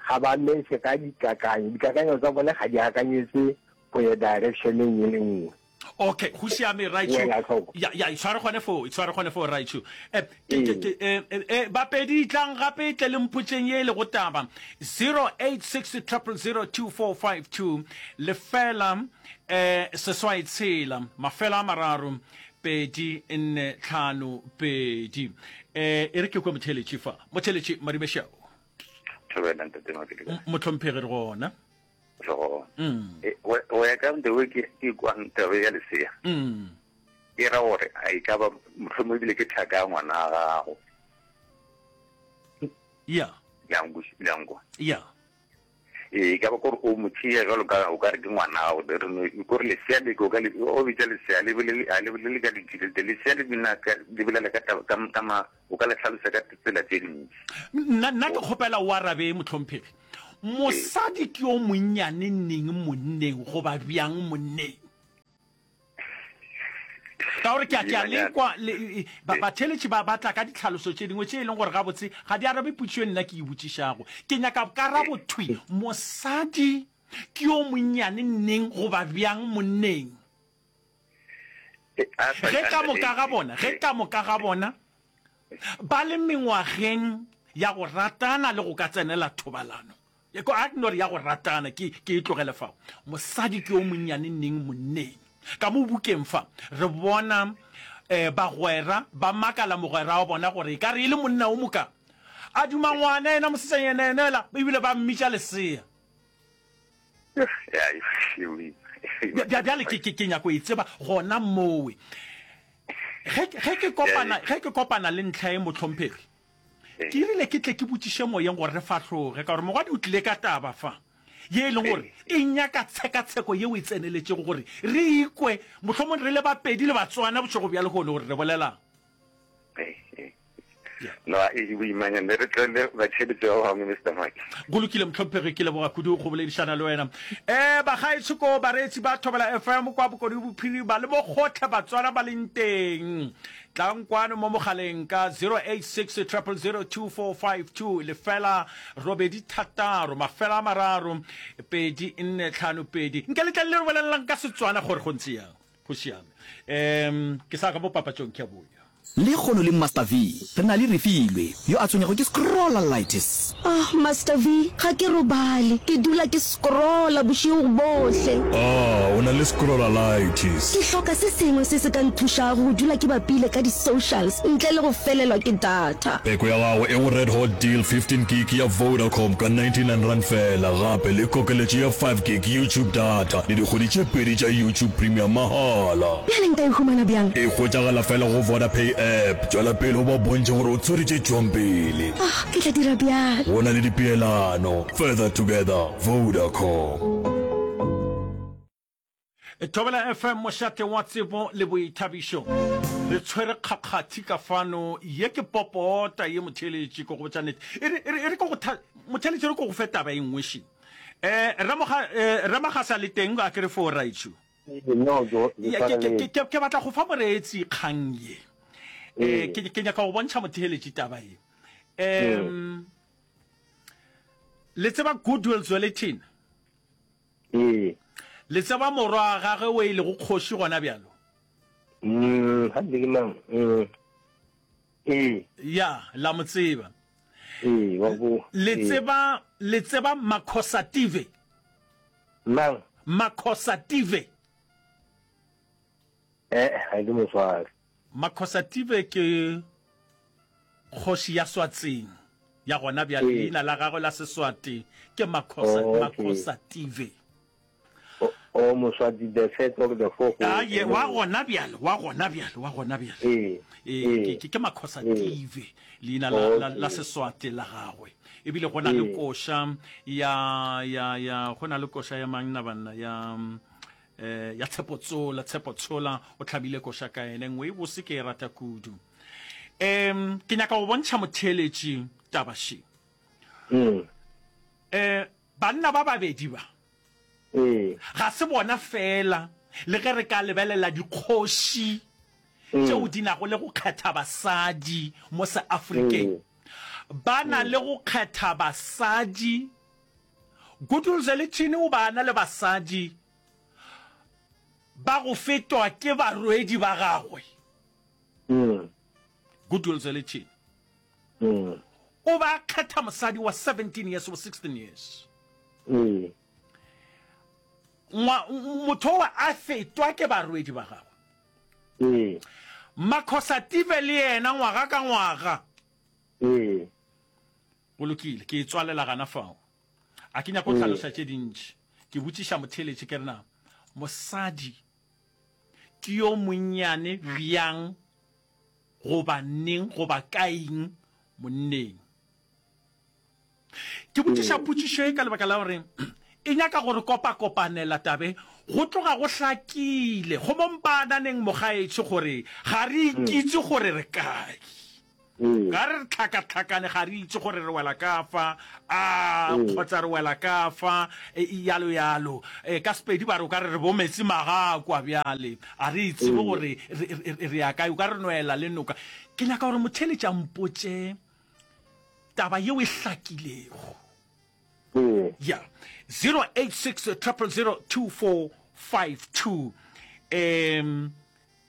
ga ba metše ka dikakanyo, dikakanyo tsa bone ga di akanyetse go ya directioneng e le nngwe. Okay, go siame raitsho. Wela tlhoko. Ya ya itshware gone foo, itshware gone foo raitsho. Eh ke ke Ee. ke eh, eh, eh Bapedi tlang gape tle le mpotseng ye e lego taba zero eight six triple zero two four five two lefela eh seswai tshela mafela a mararo pedi nne tlhano pedi. Eh e re ke kwe motheletši fa. Motheletši Marimešao. Thobela ntate Mapele kae? Mohlomphegi re gona. Re gona. Mm. E, go go ya ka the way ke ke kwang taba ya lesea. Mm. E ra gore a e ka ba mohlomongwe ebile ke thaka ya ngwana wa gago. Yeah. Le a nkwe-, le a nkwa? Yeah. Ee, ka ba kore o mo tšea jalo ka o ka re ke ngwana gago. Re no kore lesea le o ka le o bitša lesea le bolele a le bolele ka dintši le lesea le bina ka le bolela ka taba ka ka ma o ka le hlalosa ka tsela tše dintši. Nna nna ke kgopela o arabe mohlomphegi. Mosadi ke yo monnyane neng monneng goba bjang monneng? Ka gore ke a ke a lekwa le ba batheeletši ba ba tla ka ditlhaloso tše dingwe tše e leng gore gabotse ga di arabe potšišo e nna ke e botšišago. Ke nyaka karabo thwi, mosadi ke yo monnyane neng goba bjang monneng? Ge ka moka ga bona, ge ka moka ga bona ba le mengwageng ya go ratana le go ka tsenela thobalano, a ke no re ya go ratana, ke, ke e tlogele fao. Mosadi ke yo monnyane neng monneng. Ka mo bukeng fa, re bona um bagwera ba makala mogwera wa bona gore e ka re e le monna o moka. A duma ngwana yena mosetsanyana yena yela, ebile ba mmitša lesea. Bjale ke, ke, ke nyako e tseba gona mowe. Ge, ge ke kopana, ge ke kopana le ntlha e, mohlomphegi, ke rile ke tle ke botšiše moyeng gore re fahloge, ka gore mogwadi o tlile ka taba fa ye e leng gore e nyaka tshekatsheko yeo e tseneletšego gore re ikwe mohlomong re le Bapedi le Batswana bošego bja lehono gore re bolelang. No, e boimanyana re tlele batheeletši ba bangwe Mister Mike. Go lokile mohlomphegi, ke leboga kudu go boledišana le wena. Eh bagaetsho ko bareetsi ba Thobela F M kwa Bokone Bophirima le mo gohle Batswana ba leng teng. Tlang kwano mo mogaleng ka zero eight six triple zero two four five two lefela robedi thataro mafela a mararo pedi nne tlhano pedi. Nke le tle le re bolelelang ka Setswana gore go ntse yang. Go siame. Um ke sa ka mo papatšong ke a boya. Lekgono le Master V, re na le Refilwe, yo a tshwenyago ke scrollalitis. Ah, Master V, ga ke robale. Ke dula ke scrolla bošego bohle. Ah, o na le scrollalitis. Ke hloka se sengwe se se ka nthušago go dula ke bapile ka di-socials ntle le go felelwa ke data. Peko ya gago e go Red Hot Deal fifteen gig ya Vodacom ka ninety-nine rand feela, gape le kokeletšo ya five gig YouTube data le dikgwedi tše pedi tša YouTube Premium mahala. Bjale nka e humana bjang? E hwetšagala fela go Vodapay app. Tšwela pele o ba bontšhe gore o tshwere tše tšwang pele. Ah, ke tla dira bjalo. Go na le dipeelano. Further together, Vodacom. Thobela F M, mošate wa tsebo le boithabišo. Re tshwere kgakgathi ka fano. Ye ke popota ye, motheeletši, ke go botša nnete. E re, e re, e re ke go tha, motheeletši, e re ke go fe taba e nngwe še. Eh, Ramoga, eh, Ramagasa le teng, a ke re fo raitšo. No, ke, ke Ya, ke, ke, tshwareletše. ke, ke batla go fa moreetsi kgang ye. Eh, Ee. ke, ke nyaka go bontšha motheeletši taba ye. Mm. Um, le tseba Goodwill Zwelithini? Ee. Le tseba morwa wa gagwe o e lego kgoši gona bjalo? Mm, ga ke mang? Mm. Ee. Ya, la mo tseba. Ee, wa bo. Le Ee. tseba, le tseba Makhosative? Mang? Makhosative. Eh, ga ke mo sware. Makhosative ke kgoši ya Swatseng ya gona bjale. Ee. Leina la gagwe la Seswati ke Makhosa, Oh, okay. Makhosative. O, o Moswati the first or the fourth. Ah, ye, wa gona bjale, wa gona bjale, wa gona bjale. Ee, Ee, ee. ke, ke, ke Makhosative, leina la, la, la Okay. Seswati la gagwe. Ebile go na le Ee. koša ya, ya, ya, go na le koša ya mang na banna, ya, eh, ya Tshepo Tsola, Tshepo Tshola, o hlabile koša ka ene nngwe e bose, ke e rata kudu. Em, ke nyaka go bontšha motheeletši taba še. Mm. Eh, banna ba babedi ba, Ee. ga se bona fela, le ge re ka lebelela dikgoši tšeo di nago le go kgetha basadi mo Seafrikeng, ba na le go kgetha basadi. Goodwill Zwelithini o ba na le basadi ba go fetwa ke barwedi ba gagwe. Mm. Goodwill Zwelithini Mm. o ba kgetha mosadi wa seventeen years or sixteen years. Mm. Ngwa, motho wa a fetwa ke barwedi ba gagwe. Mm. Makhosative le yena ngwaga ka ngwaga. Mm. Go lokile, ke e tswalela gana fao. A ke nyako Mm. hlalosa tše dintši. Ke botšiša motheeletši ke re na mosadi ke yo monnyane bjang goba neng goba kaeng monneng. Ke botšiša potšišo e ka lebaka la gore e nyaka go re kopakopanela tabe go tloga go hlakile go mo mpaananeng mogaetsho gore ga re ikitse gore re kae. Ga re re tlhakatlhakane ga re itse gore re wela ka fa a kgotsa re wela ka fa yalo yalo. Ka Sepedi ba re o ka re re bo metsi magakwa bjale a re itsebe gore re ya kae o ka re nwela le noka. Ke nyaka gore motheeletši a mpotše taba yeo e hlakilego. Ya zero eight six triple zero two four five two. Um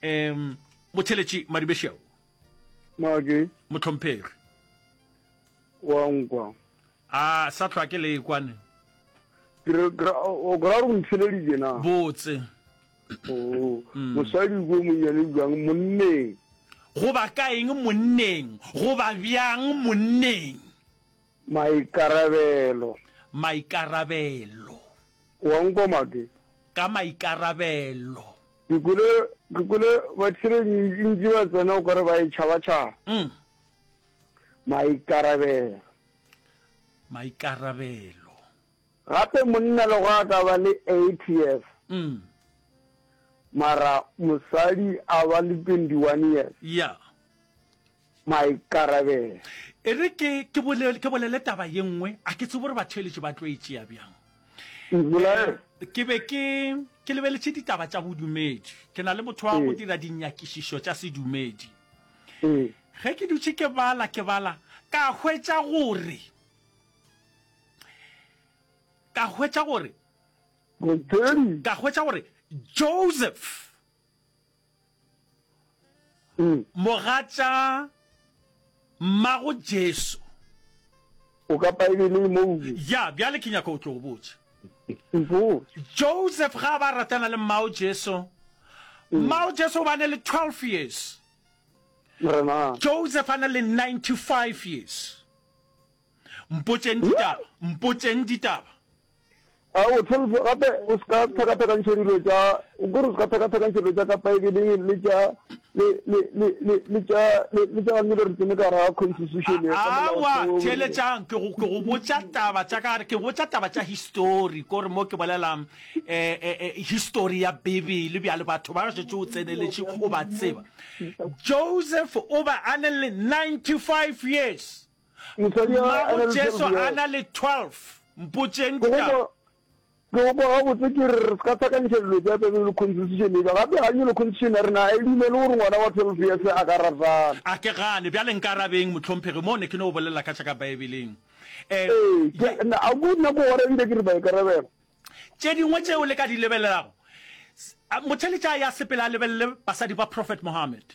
um motheeletši Madibešeo. Make. Mohlomphegi. Wa nkwa. A sa hlwa ke le kwane. Ke re, o ra gore o ntheleditše na? Botse. Oh, mosadi ko monnyane bjang monneng? Goba ka eng monneng? Goba bjang monneng? Maikarabelo. Maikarabelo. Wa nkwa Make? Ka maikarabelo. Ke kwele, ke kwele batheeletši ntši ba tsena o ka re ba e tšhaba-tšhaba. Mm. Maikarabelo. Maikarabelo. Gape monna le go a ka ba le eight years. Mm. Mara mosadi a ba le twenty one years. Yeah. Maikarabelo. E re ke, ke bolele, ke bolele taba ye nngwe, a ke tsebe gore batheeletši ba tlo e tšea bjang. Bolele. Ke be ke, ke lebeletše ditaba tša bodumedi. Ke na le motho wa go dira dinyakišišo tša sedumedi. Ge ke dutše ke bala, ke bala, ka hwetša gore, ka hwetša gore, ka hwetša gore Joseph, Mogatša mmago Jesu. O ka Paebeleng moo. Ya, bjale ke nyaka o tlo botša. Mpotše. Joseph ga a ba ratana le mmago Jesu, mmago Jesu o ba ne le twelve years. Morena. Joseph a na le ninety five years. Mpotšeng ditaba, mpotšeng ditaba. A o twelve gape o se ka tlhakatlhakantšha dilo tša, o kore o se ka tlhakatlhakantšha dilo tša ka Paebeleng le tša, le, le, le, le, le tša, le, le tša gangele re tsene ka gare ga constitution ya ka Aowa, molaotheo. theeletšang, ke go, ke go botša taba tša ka gare, ke botša taba tša histori, kore mo ke bolela eh, eh, eh, histori ya Bibele, bjale batho ba šetše o tseneletše, o ba tseba. Joseph o be a ne le ninety-five years. Mosadi a, a Mmago na le Jesu twelve a years. na le twelve. Mpotšeng Ke go ditaba. kwa, ke go kwa gabotse ke re re se ka hlakantšha dilo tša Bibele le constitution eba. Gape ganye le constitution ya rena a e dumele gore ngwana wa twelve years a ka ratana. A ke gane. Bjale nkarabeng, mohlomphegi, mo ne ke no bolela ka tša ka Beibeleng. Eh, Ee, ke, ye. na, a ko nna ko gora ebile ke re maikarabelo. Tše dingwe tšeo le ka di lebelelago, s-, a, motheeletši a ya sepele a lebelele basadi ba Prophet Muhammad.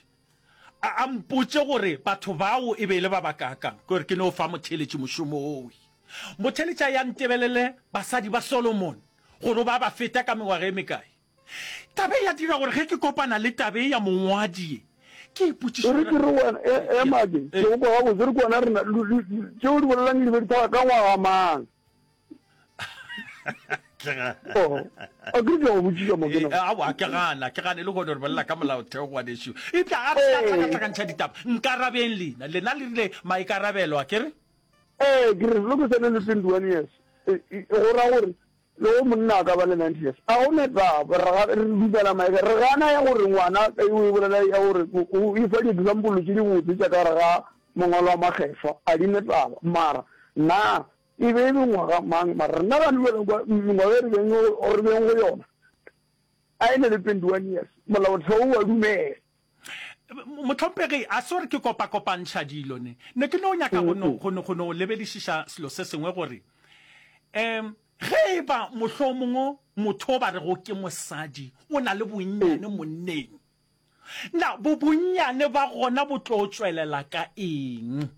A, a mpotše gore batho bao e be e le ba bakaakang, ke gore ke no fa motheeletši mošomo owe. Motheeletši a ya ntebelele basadi ba Solomon, gore o ba ba feta ka mengwaga e mekae. Taba e ya dira gore ge ke kopana le taba e ya mongwadi ye, ke ipotšiše E re gore. ke re wena, e, ema ke, ke go kwa gabotse, re ke wena rena, tšeo o di bolelang di be di hlaga ka ngwaga mang? Oh, a ke re ke a go botšiša mo ke no. Eh, aowa, ke gana, ke gane le gone re bolela ka molaotheo ngwanešu. Eupša a re se ka tlhakatlhakantšha ditaba. Nkarabeng lena. Lena le rile maikarabelo, a ke re? Ee, ke re loke sene le twenty one years. E, e, go ra gore le go monna a ka ba le ninety years. A go ne taba, re ga, re dumela maika, re gana ya gore ngwana e o e bolela ya gore o, o e fa di-example tše dibotse tša ka gare ga mangwalo a makgethwa, a di ne taba. Mara na E be e le ngwaga mang? Mara rena ga lebeleng kwa mengwaga e re beng re beng go yona, a e ne le twenty one years, molaotheo o a dumela. Mohlomphegi, a se gore ke kopakopantšha dilo ne. Ne ke no nyaka go no, go no, go no lebedišiša selo se sengwe gore, um ge e ba mohlomongwe motho o ba rego ke mosadi o na le bonnyane monneng, Na bo bonnyane ba gona bo tlo tšwelela ka eng?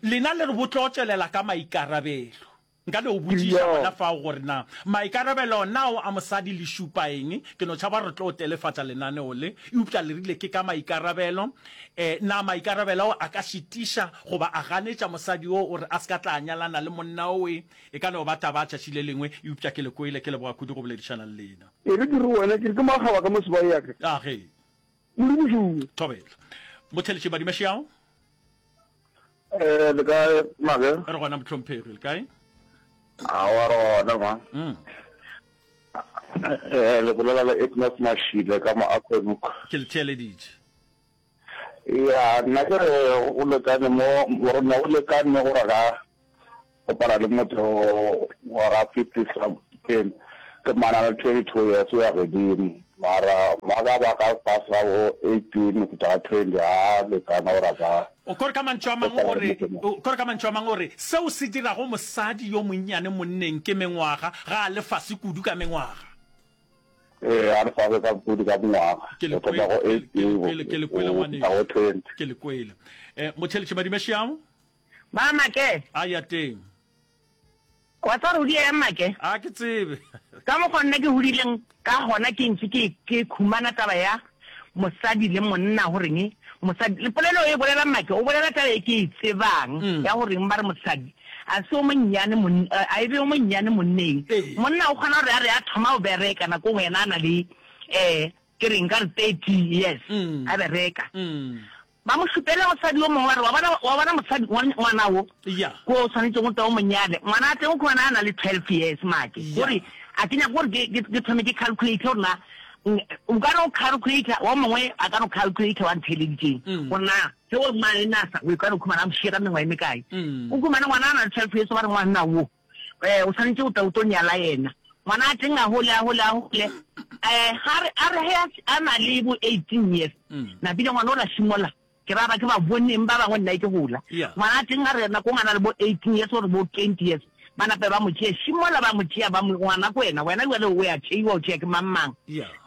Lena le re bo tlo tšwelela ka maikarabelo. Nka no botšiša gona fao gore na maikarabelo nao a mosadi le šupa eng? Ke no tšhaba re tlo telefatša lenaneo le, eupša le rile ke ka maikarabelo. E, na maikarabelo ao a ka šitiša goba a ganetša mosadi yoo gore a se ka tla nyalana le monna owe? E ka no ba taba tšatši le lengwe, eupša ke le kwele. Ke leboga kudu go boledišana le lena. E re ke re wena, ke re ke makgaba ka mo sebae ya ka. A ge. Modimo šuwe. Thobela. Motheletši Madimešiao. Eh, le kae Make? Re gona mohlomphegi, le kae? Aowa re gona ma. Mm. Eh, le bolela le Ignas Mashile ka mo Acornhoek. Ke le theeleditše. Ya, nna ke re go lekane mo, gore ne go lekane gore ka kopana le motho wa ga fifty something, ke mana le twenty two years o ya godimo, mara ba ka ba ka fase ga bo eighteen go fihla ga twenty ga lekana gore a ka O kore ka mantšu a mangwe o re, o kore ka mantšu a mangwe o re, seo se dirago mosadi yo monnyane monneng ke mengwaga, ga a le fase kudu ka mengwaga. Ee, a le fase ka kudu ka mengwaga. Ke le Go thoma go kwele, ke eighteen le go kwele, ke le kwele go fihla ngwanešu. go twenty. Ke le kwele. Eh, motheeletši Madimešiao? Ba Make. A ya teng. Wa tseba gore o di eng Make? A ke tsebe. Ka mokgwa nna ke hodileng ka gona ke ntše ke ke khumana taba ya mosadi le monna goreng mosadi le polelo e bolela Make o bolela taba e ke e tsebang Mm. ya goreng ba re mosadi a se o monnyane mon a e be o monnyane monneng. Monna o kgona gore a re a thoma go bereka nako nngwe yena a na le eh ke reng nka re thirty years a bereka. Ba mo šupele mosadi yo mongwe ba re, Wa bona, wa bona mosadi, ngwana wo, ko o swanetšego go tla o mo nyale. Ngwana a teng o khumana a na le twelve years, make. Gore, a ke nyake gore ke, ke, ke thome ke calculate gore na, o ka no calculate, wa mongwe a ka no calculate wa ntheeleditšeng, gore na ge o mane nasa, o ka no khumana a mo šia ka mengwaga e mekae. O khumane ngwana a na le twelve years, ba re ngwanna wo, eh, o swanetše go tla o tlo nyala yena. Ngwana a teng a gole, a gole, a gole, eh, ga re, a re ge a, a na le bo eighteen years, napile ngwana ola šimola, ke ra ba ke ba boneng ba bangwe nna ke gola. Ngwana a teng a re nako ngwe a na le bo eighteen years or bo twenty years, ba nape ba mo tšea, šimola ba mo tšea, ba mo, ngwana ke wena, wena bjale o ya tšeiwa, o tšea ke mang mang.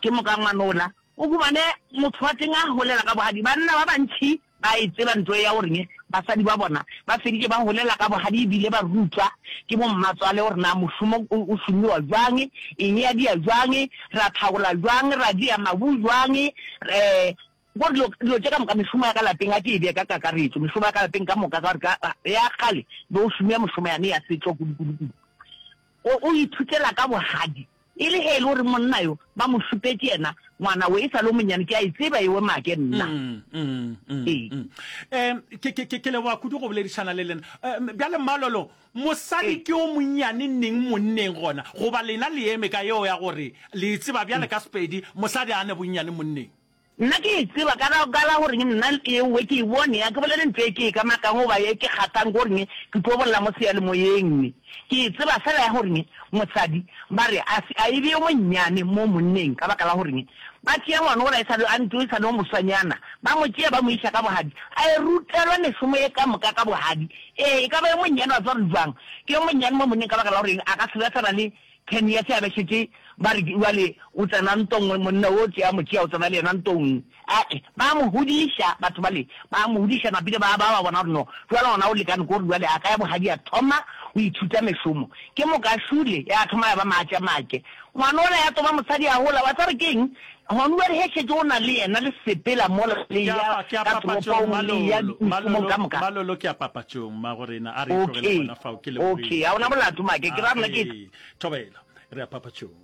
Ke moka ngwana ola, o humane motho wa teng a golela ka bogadi. Banna ba bantši ba e tseba nto ya goreng basadi ba bona ba feditše ba golela ka bogadi ebile ba rutwa ke bommatswale gore na mošomo o šomiwa bjang, eng ya dia bjang, ra thaola bjang, ra dia mabu bjang, um gore dilo, dilo tše ka moka, mešomo ya ka lapeng, a ke e bee ka kakaretšo, mešomo ya ka lapeng ka moka, ka gore ka ya kgale be o šomia mešomo yane ya setšo kudu-kudu-kudu. O, o ithutela ka bogadi. E le ge e le gore monna yo ba mo šupetše yena, ngwana we e sa le o monnyane, ke a e tseba ewe make nna. Mm, mm, mm, Ee. mm. Em, ke, ke, ke, ke leboga kudu go boledišana le lena. Em, bjale Mmalolo, mosadi Ee. ke o monnyane neng monneng gona? Goba lena le eme ka yeo ya gore le e tseba bjale ka Sepedi, mosadi a ne bonnyane monneng? Nna ke e tseba ka la, ka la goreng nna ewe ke e bone, a ke bolele ntho e ke e kamakang goba e ke kgathang goreng ke tlo bolela mo seyalemoyeng ne. Ke e tseba fela ya goreng mosadi ba re a se, a e be yo monnyane mo monneng ka baka la goreng ba tšea ngwana ola e sa le, a ntše e sa le yo moswanyana, ba mo tšea ba mo iša ka bogadi, a e rutelwa mešomo ye ka moka ka bogadi. Ee, e ka ba yo monnyane wa tseba gore bjang ke yo monnyane mo monneng ka baka la goreng a ka se be a sa na le Ten years a be šetše ba re bjale o tsena ntong, monna o tšea mo tšea o tsena le yena ntong. Ae, ba mo godiša batho bale, ba mo godiša napile ba ba ba bona gore no bjale gona o lekane ke gore bjale a ka ya bogadi a thoma go ithuta mešomo. Ke moka šule ya thoma ya ba maatša make. Ngwana ola ya toba mosadi a gola, wa tseba gore ke eng? Gona bjale ge šetše o na le yena le sepela mola le Ke a ya pa, ke a ka papatšong, toropong le ya Malolo, mešomong Malolo, ka moka. Malolo, ke a papatšong, mmagorena, a re e tlogele Okay, gona fao, ke lebogile. okay, ga o na molato make, ke ra nna ke. Age, thobela, re ya papatšong.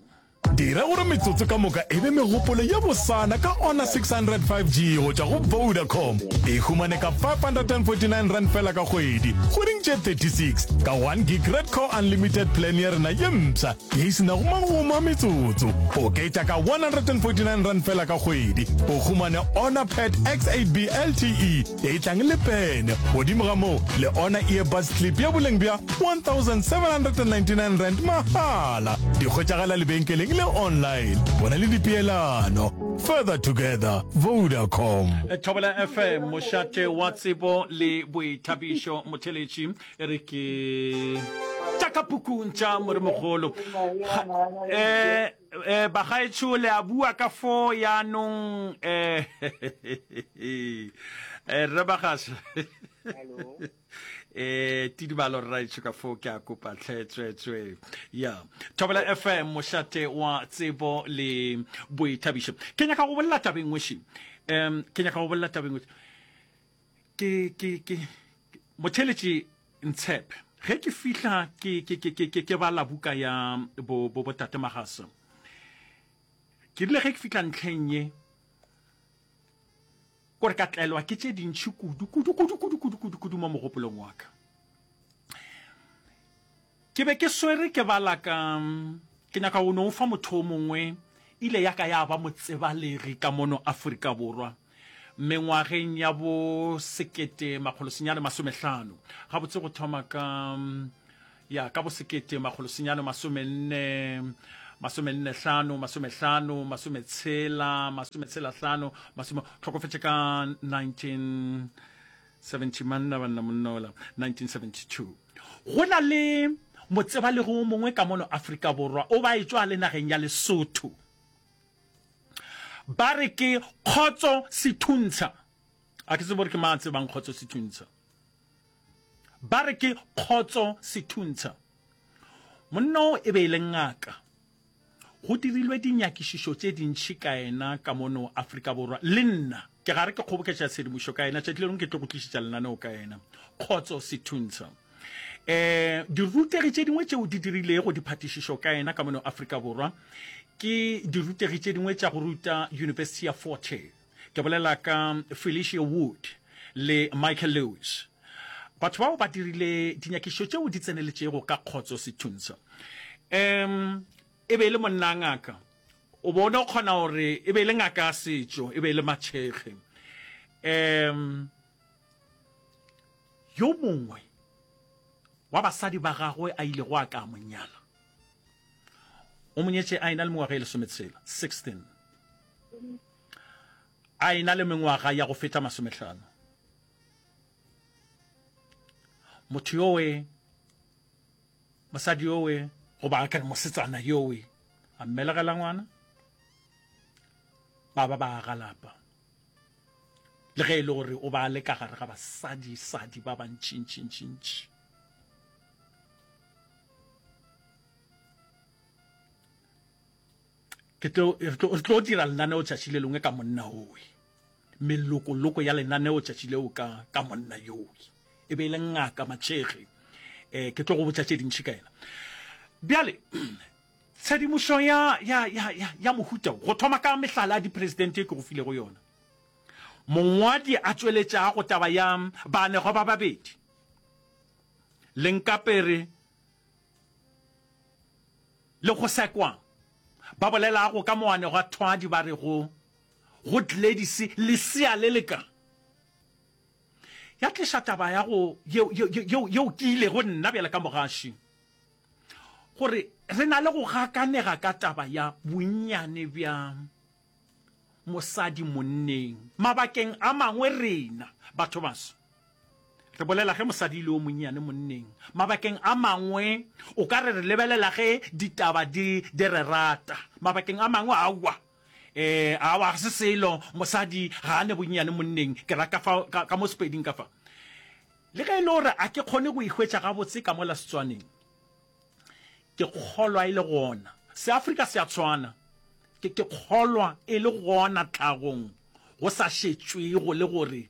Dira gore metsotso ka moka e be megopolo ye bosana ka Honor six hundred five G go tšwa go Vodacom. E humane ka five hundred and forty nine rand fela ka kgwedi, kgweding tše thirty six, ka one gig Redco Unlimited plan ya rena ye mpsha ye e se nago magomo a metsotso. Oketša ka one hundred and forty nine rand fela ka kgwedi, o humane Honor Pad X eight B L T E ye e tlang le pene. Godimo ga moo, le Honor Earbuds Clip ya boleng bja one thousand seven hundred and ninety nine rand mahala. Di hwetšagala lebenkeleng le online. Bona le dipeelano. Further together, Vodacom. Thobela F M, mošate wa tsebo le boithabišo. Motheeletši, e re ke tša ka pukung tša Moremogolo. Ga, eh, eh, bagaetsho le a bua ka fo yaanong, eh, eh, rre Bagasha. Eh, tidibalo rraetsho ka fo ke a kopa tlhe tswetswe. Ya. Thobela F M, mošate wa tsebo le boithabišo. Ke nyaka go bolela tabeng weši. Um, ke nyaka go bolela tabeng weši. Ke, ke, ke, motheeletši Ntshepe, ge ke fihla ke, ke, ke, ke, ke, ke bala buka ya bo, bo, bo Tate Magasa, ke rile ge ke fihla ntlheng ye, Kore ka tlelwa ke tše dintši kudu, kudu, kudu, kudu, kudu, kudu, kudu mo mogopolong wa ka. Ke be ke swere ke bala ka, ke nyaka go no fa motho o mongwe, ile ya ka ya ba motsebalegi ka mono Afrika Borwa, mengwageng ya bo sekete makgolo senyane masomehlano, gabotse go thoma ka, ya, ka bo sekete makgolo senyane masomenne, masomenne hlano, masomehlano, masometshela, masometshela hlano, masome, hlokofetše ka nineteen seventy, manna banna monna ola, nineteen seventy two. Go na le motsebalegi o mongwe ka mono Afrika Borwa, o ba etšwa le nageng ya Lesotho. Ba re ke Kgotso Sethuntsha. A ke tsebe gore ke mang a tsebang Kgotso Sethuntsha. Ba re ke Kgotso Sethuntsha. Monna o e be e le ngaka. Go dirilwe dinyakišišo tše dintši ka yena ka mono Afrika Borwa. Le nna ke gare ke kgoboketša tshedimošo ka yena. Tšatši le lengwe ke tlo go tlišetša lenaneo ka yena. Kgotso Sethuntsha. Um dirutegi tše dingwe tšeo di dirilego diphatišišo ka yena ka mono Afrika Borwa ke dirutegi tše dingwe tša go ruta University ya Fort Hare. Ke bolela ka Felicia Wood le Michael Lewis. Batho bao ba dirile dinyakišišo tšeo di tseneletšego ka Kgotso Sethuntsha. Um e be e le monna ngaka. O be o no kgona gore e be e le ngaka ya setšo, e be e le matšhekge. Um yo mongwe wa basadi ba gagwe a ilego a ka mo nyala, o mo nyetše a ena le mengwaga e lesometshela, sixteen, a ena le mengwaga ya go feta masomehlano. Motho yowe, mosadi yowe, goba a ka re mosetsana yowe, a mmelegela ngwana, ba ba ba aga lapa. Le ge e le gore o ba a le ka gare ga basadi-sadi ba bantši-ntši-ntši-ntši. Ke tlo, re tlo, re tlo dira lenaneo tšatši le lengwe ka monna owe. Melokoloko ya lenaneo tšatši leo ka, ka monna yowe. E be e le ngaka Matšhege. Eh, ke tlo go botša tše dintši ka yena. Bjale, tshedimošo ya, ya, ya, ya, ya mohuta wo, go thoma ka mehlala ya dipresidente e ke go filego yona. Mongwadi a tšweletšago taba ya baanegwa ba babedi, Lenkapere le Gosekwang, ba bolelago ka moanegwathwadi ba rego go Gladys lesea le le ka. Ya tliša taba ya go yeo, yeo, yeo, yeo ke ilego nna bjale ka mogaši gore re na le go gakanega ka taba ya bonnyane bja mosadi monneng. Mabakeng a mangwe rena batho baso re bolela ge mosadi e le yo monnyane monneng. Mabakeng a mangwe o ka re re lebelela ge ditaba di, di re rata. Mabakeng a mangwe aowa, eh, aowa ga se selo, mosadi ga a ne bonnyane monneng. Ke ra ka fa, ka, ka mo Sepeding ka fa. Le ge e le gore a ke kgone go e hwetša gabotse ka mola Setswaneng, ke kgolwa e le gona. Seafrika se a tshwana. Ke, ke kgolwa e le gona tlhagong, go sa šetšwego le gore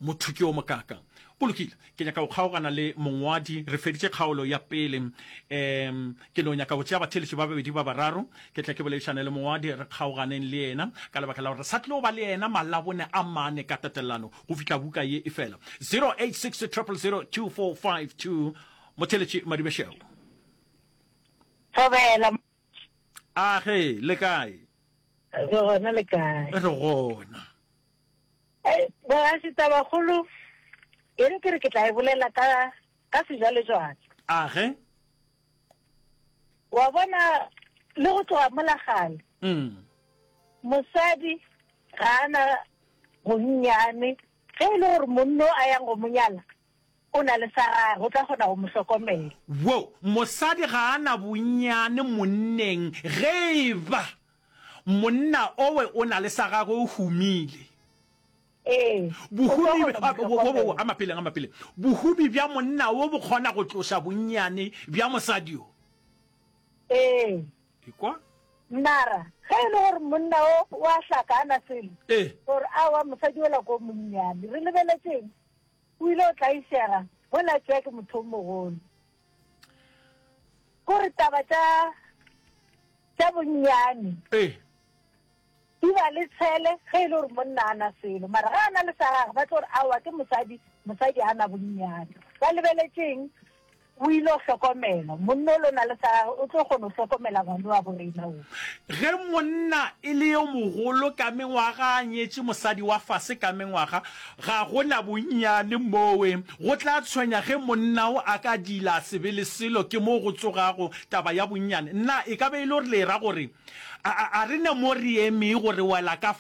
motho ke yo mokaakang. Go lokile, ke nyaka go kgaogana le mongwadi. Re feditše kgaolo ya pele. Um, ke no nyaka go tšea batheeletši ba babedi ba bararo, ke tle ke boledišane le mongwadi, re kgaoganeng le yena, ka lebaka la gore re sa tlo ba le yena malabone a mane ka tatelano go fihla buka ye e fela. Zero eight six triple zero two four five two, Motheeletši Madibešego. Thobela. A ge, le kae? Re gona, le kae? Re gona. Boraši, tabakgolo e re ke re ke tla e bolela ka ka sejwalejwale. A ge? Wa bona le go tloga mola kgale. Mm. Mosadi ga a na bonnyane ge e le gore monno a yang go mo nyala o na le sa gagwe, o tla kgona go mo hlokomela. Wo, mosadi ga a na bonnyane monneng ge e ba monna owe o na le sa gagwe o humile. Ee, o tlo Bohumi, kgona go mo wo, wo, wo, hlokomela. a mapeleng, a mapeleng. Bohumi bja monna wo bo kgona go tloša bonnyane bja mosadi yo. Ee. Ekwa? Mara ge e le gore monna o o a hlaka a na selo, Ee. gore aowa mosadi ola ko monnyane, re lebeletšeng? O ile o tlaišega mola a tšea ke motho o mogolo. Kore taba tša tša bonnyane Ee. Di ba le tshele ge e le gore monna a na selo, mara ge a na le sa gagwe ba tlo re aowa ke mosadi, mosadi a na bonnyane. Ba lebeletše eng? O ile go hlokomela. Monna o lo na le sa gagwe o tlo kgona go hlokomela ngwana wa borena wo. Ge monna e le yo mogolo ka mengwaga a nyetše mosadi wa fase ka mengwaga, ga go na bonnyane mowe. Go tla tshwenya ge monna o a ka diila a se be le selo, ke moo go tsogago taba ya bonnyane. Na e ka be e le gore le e ra gore a, a, a re ne mo re emego re wela ka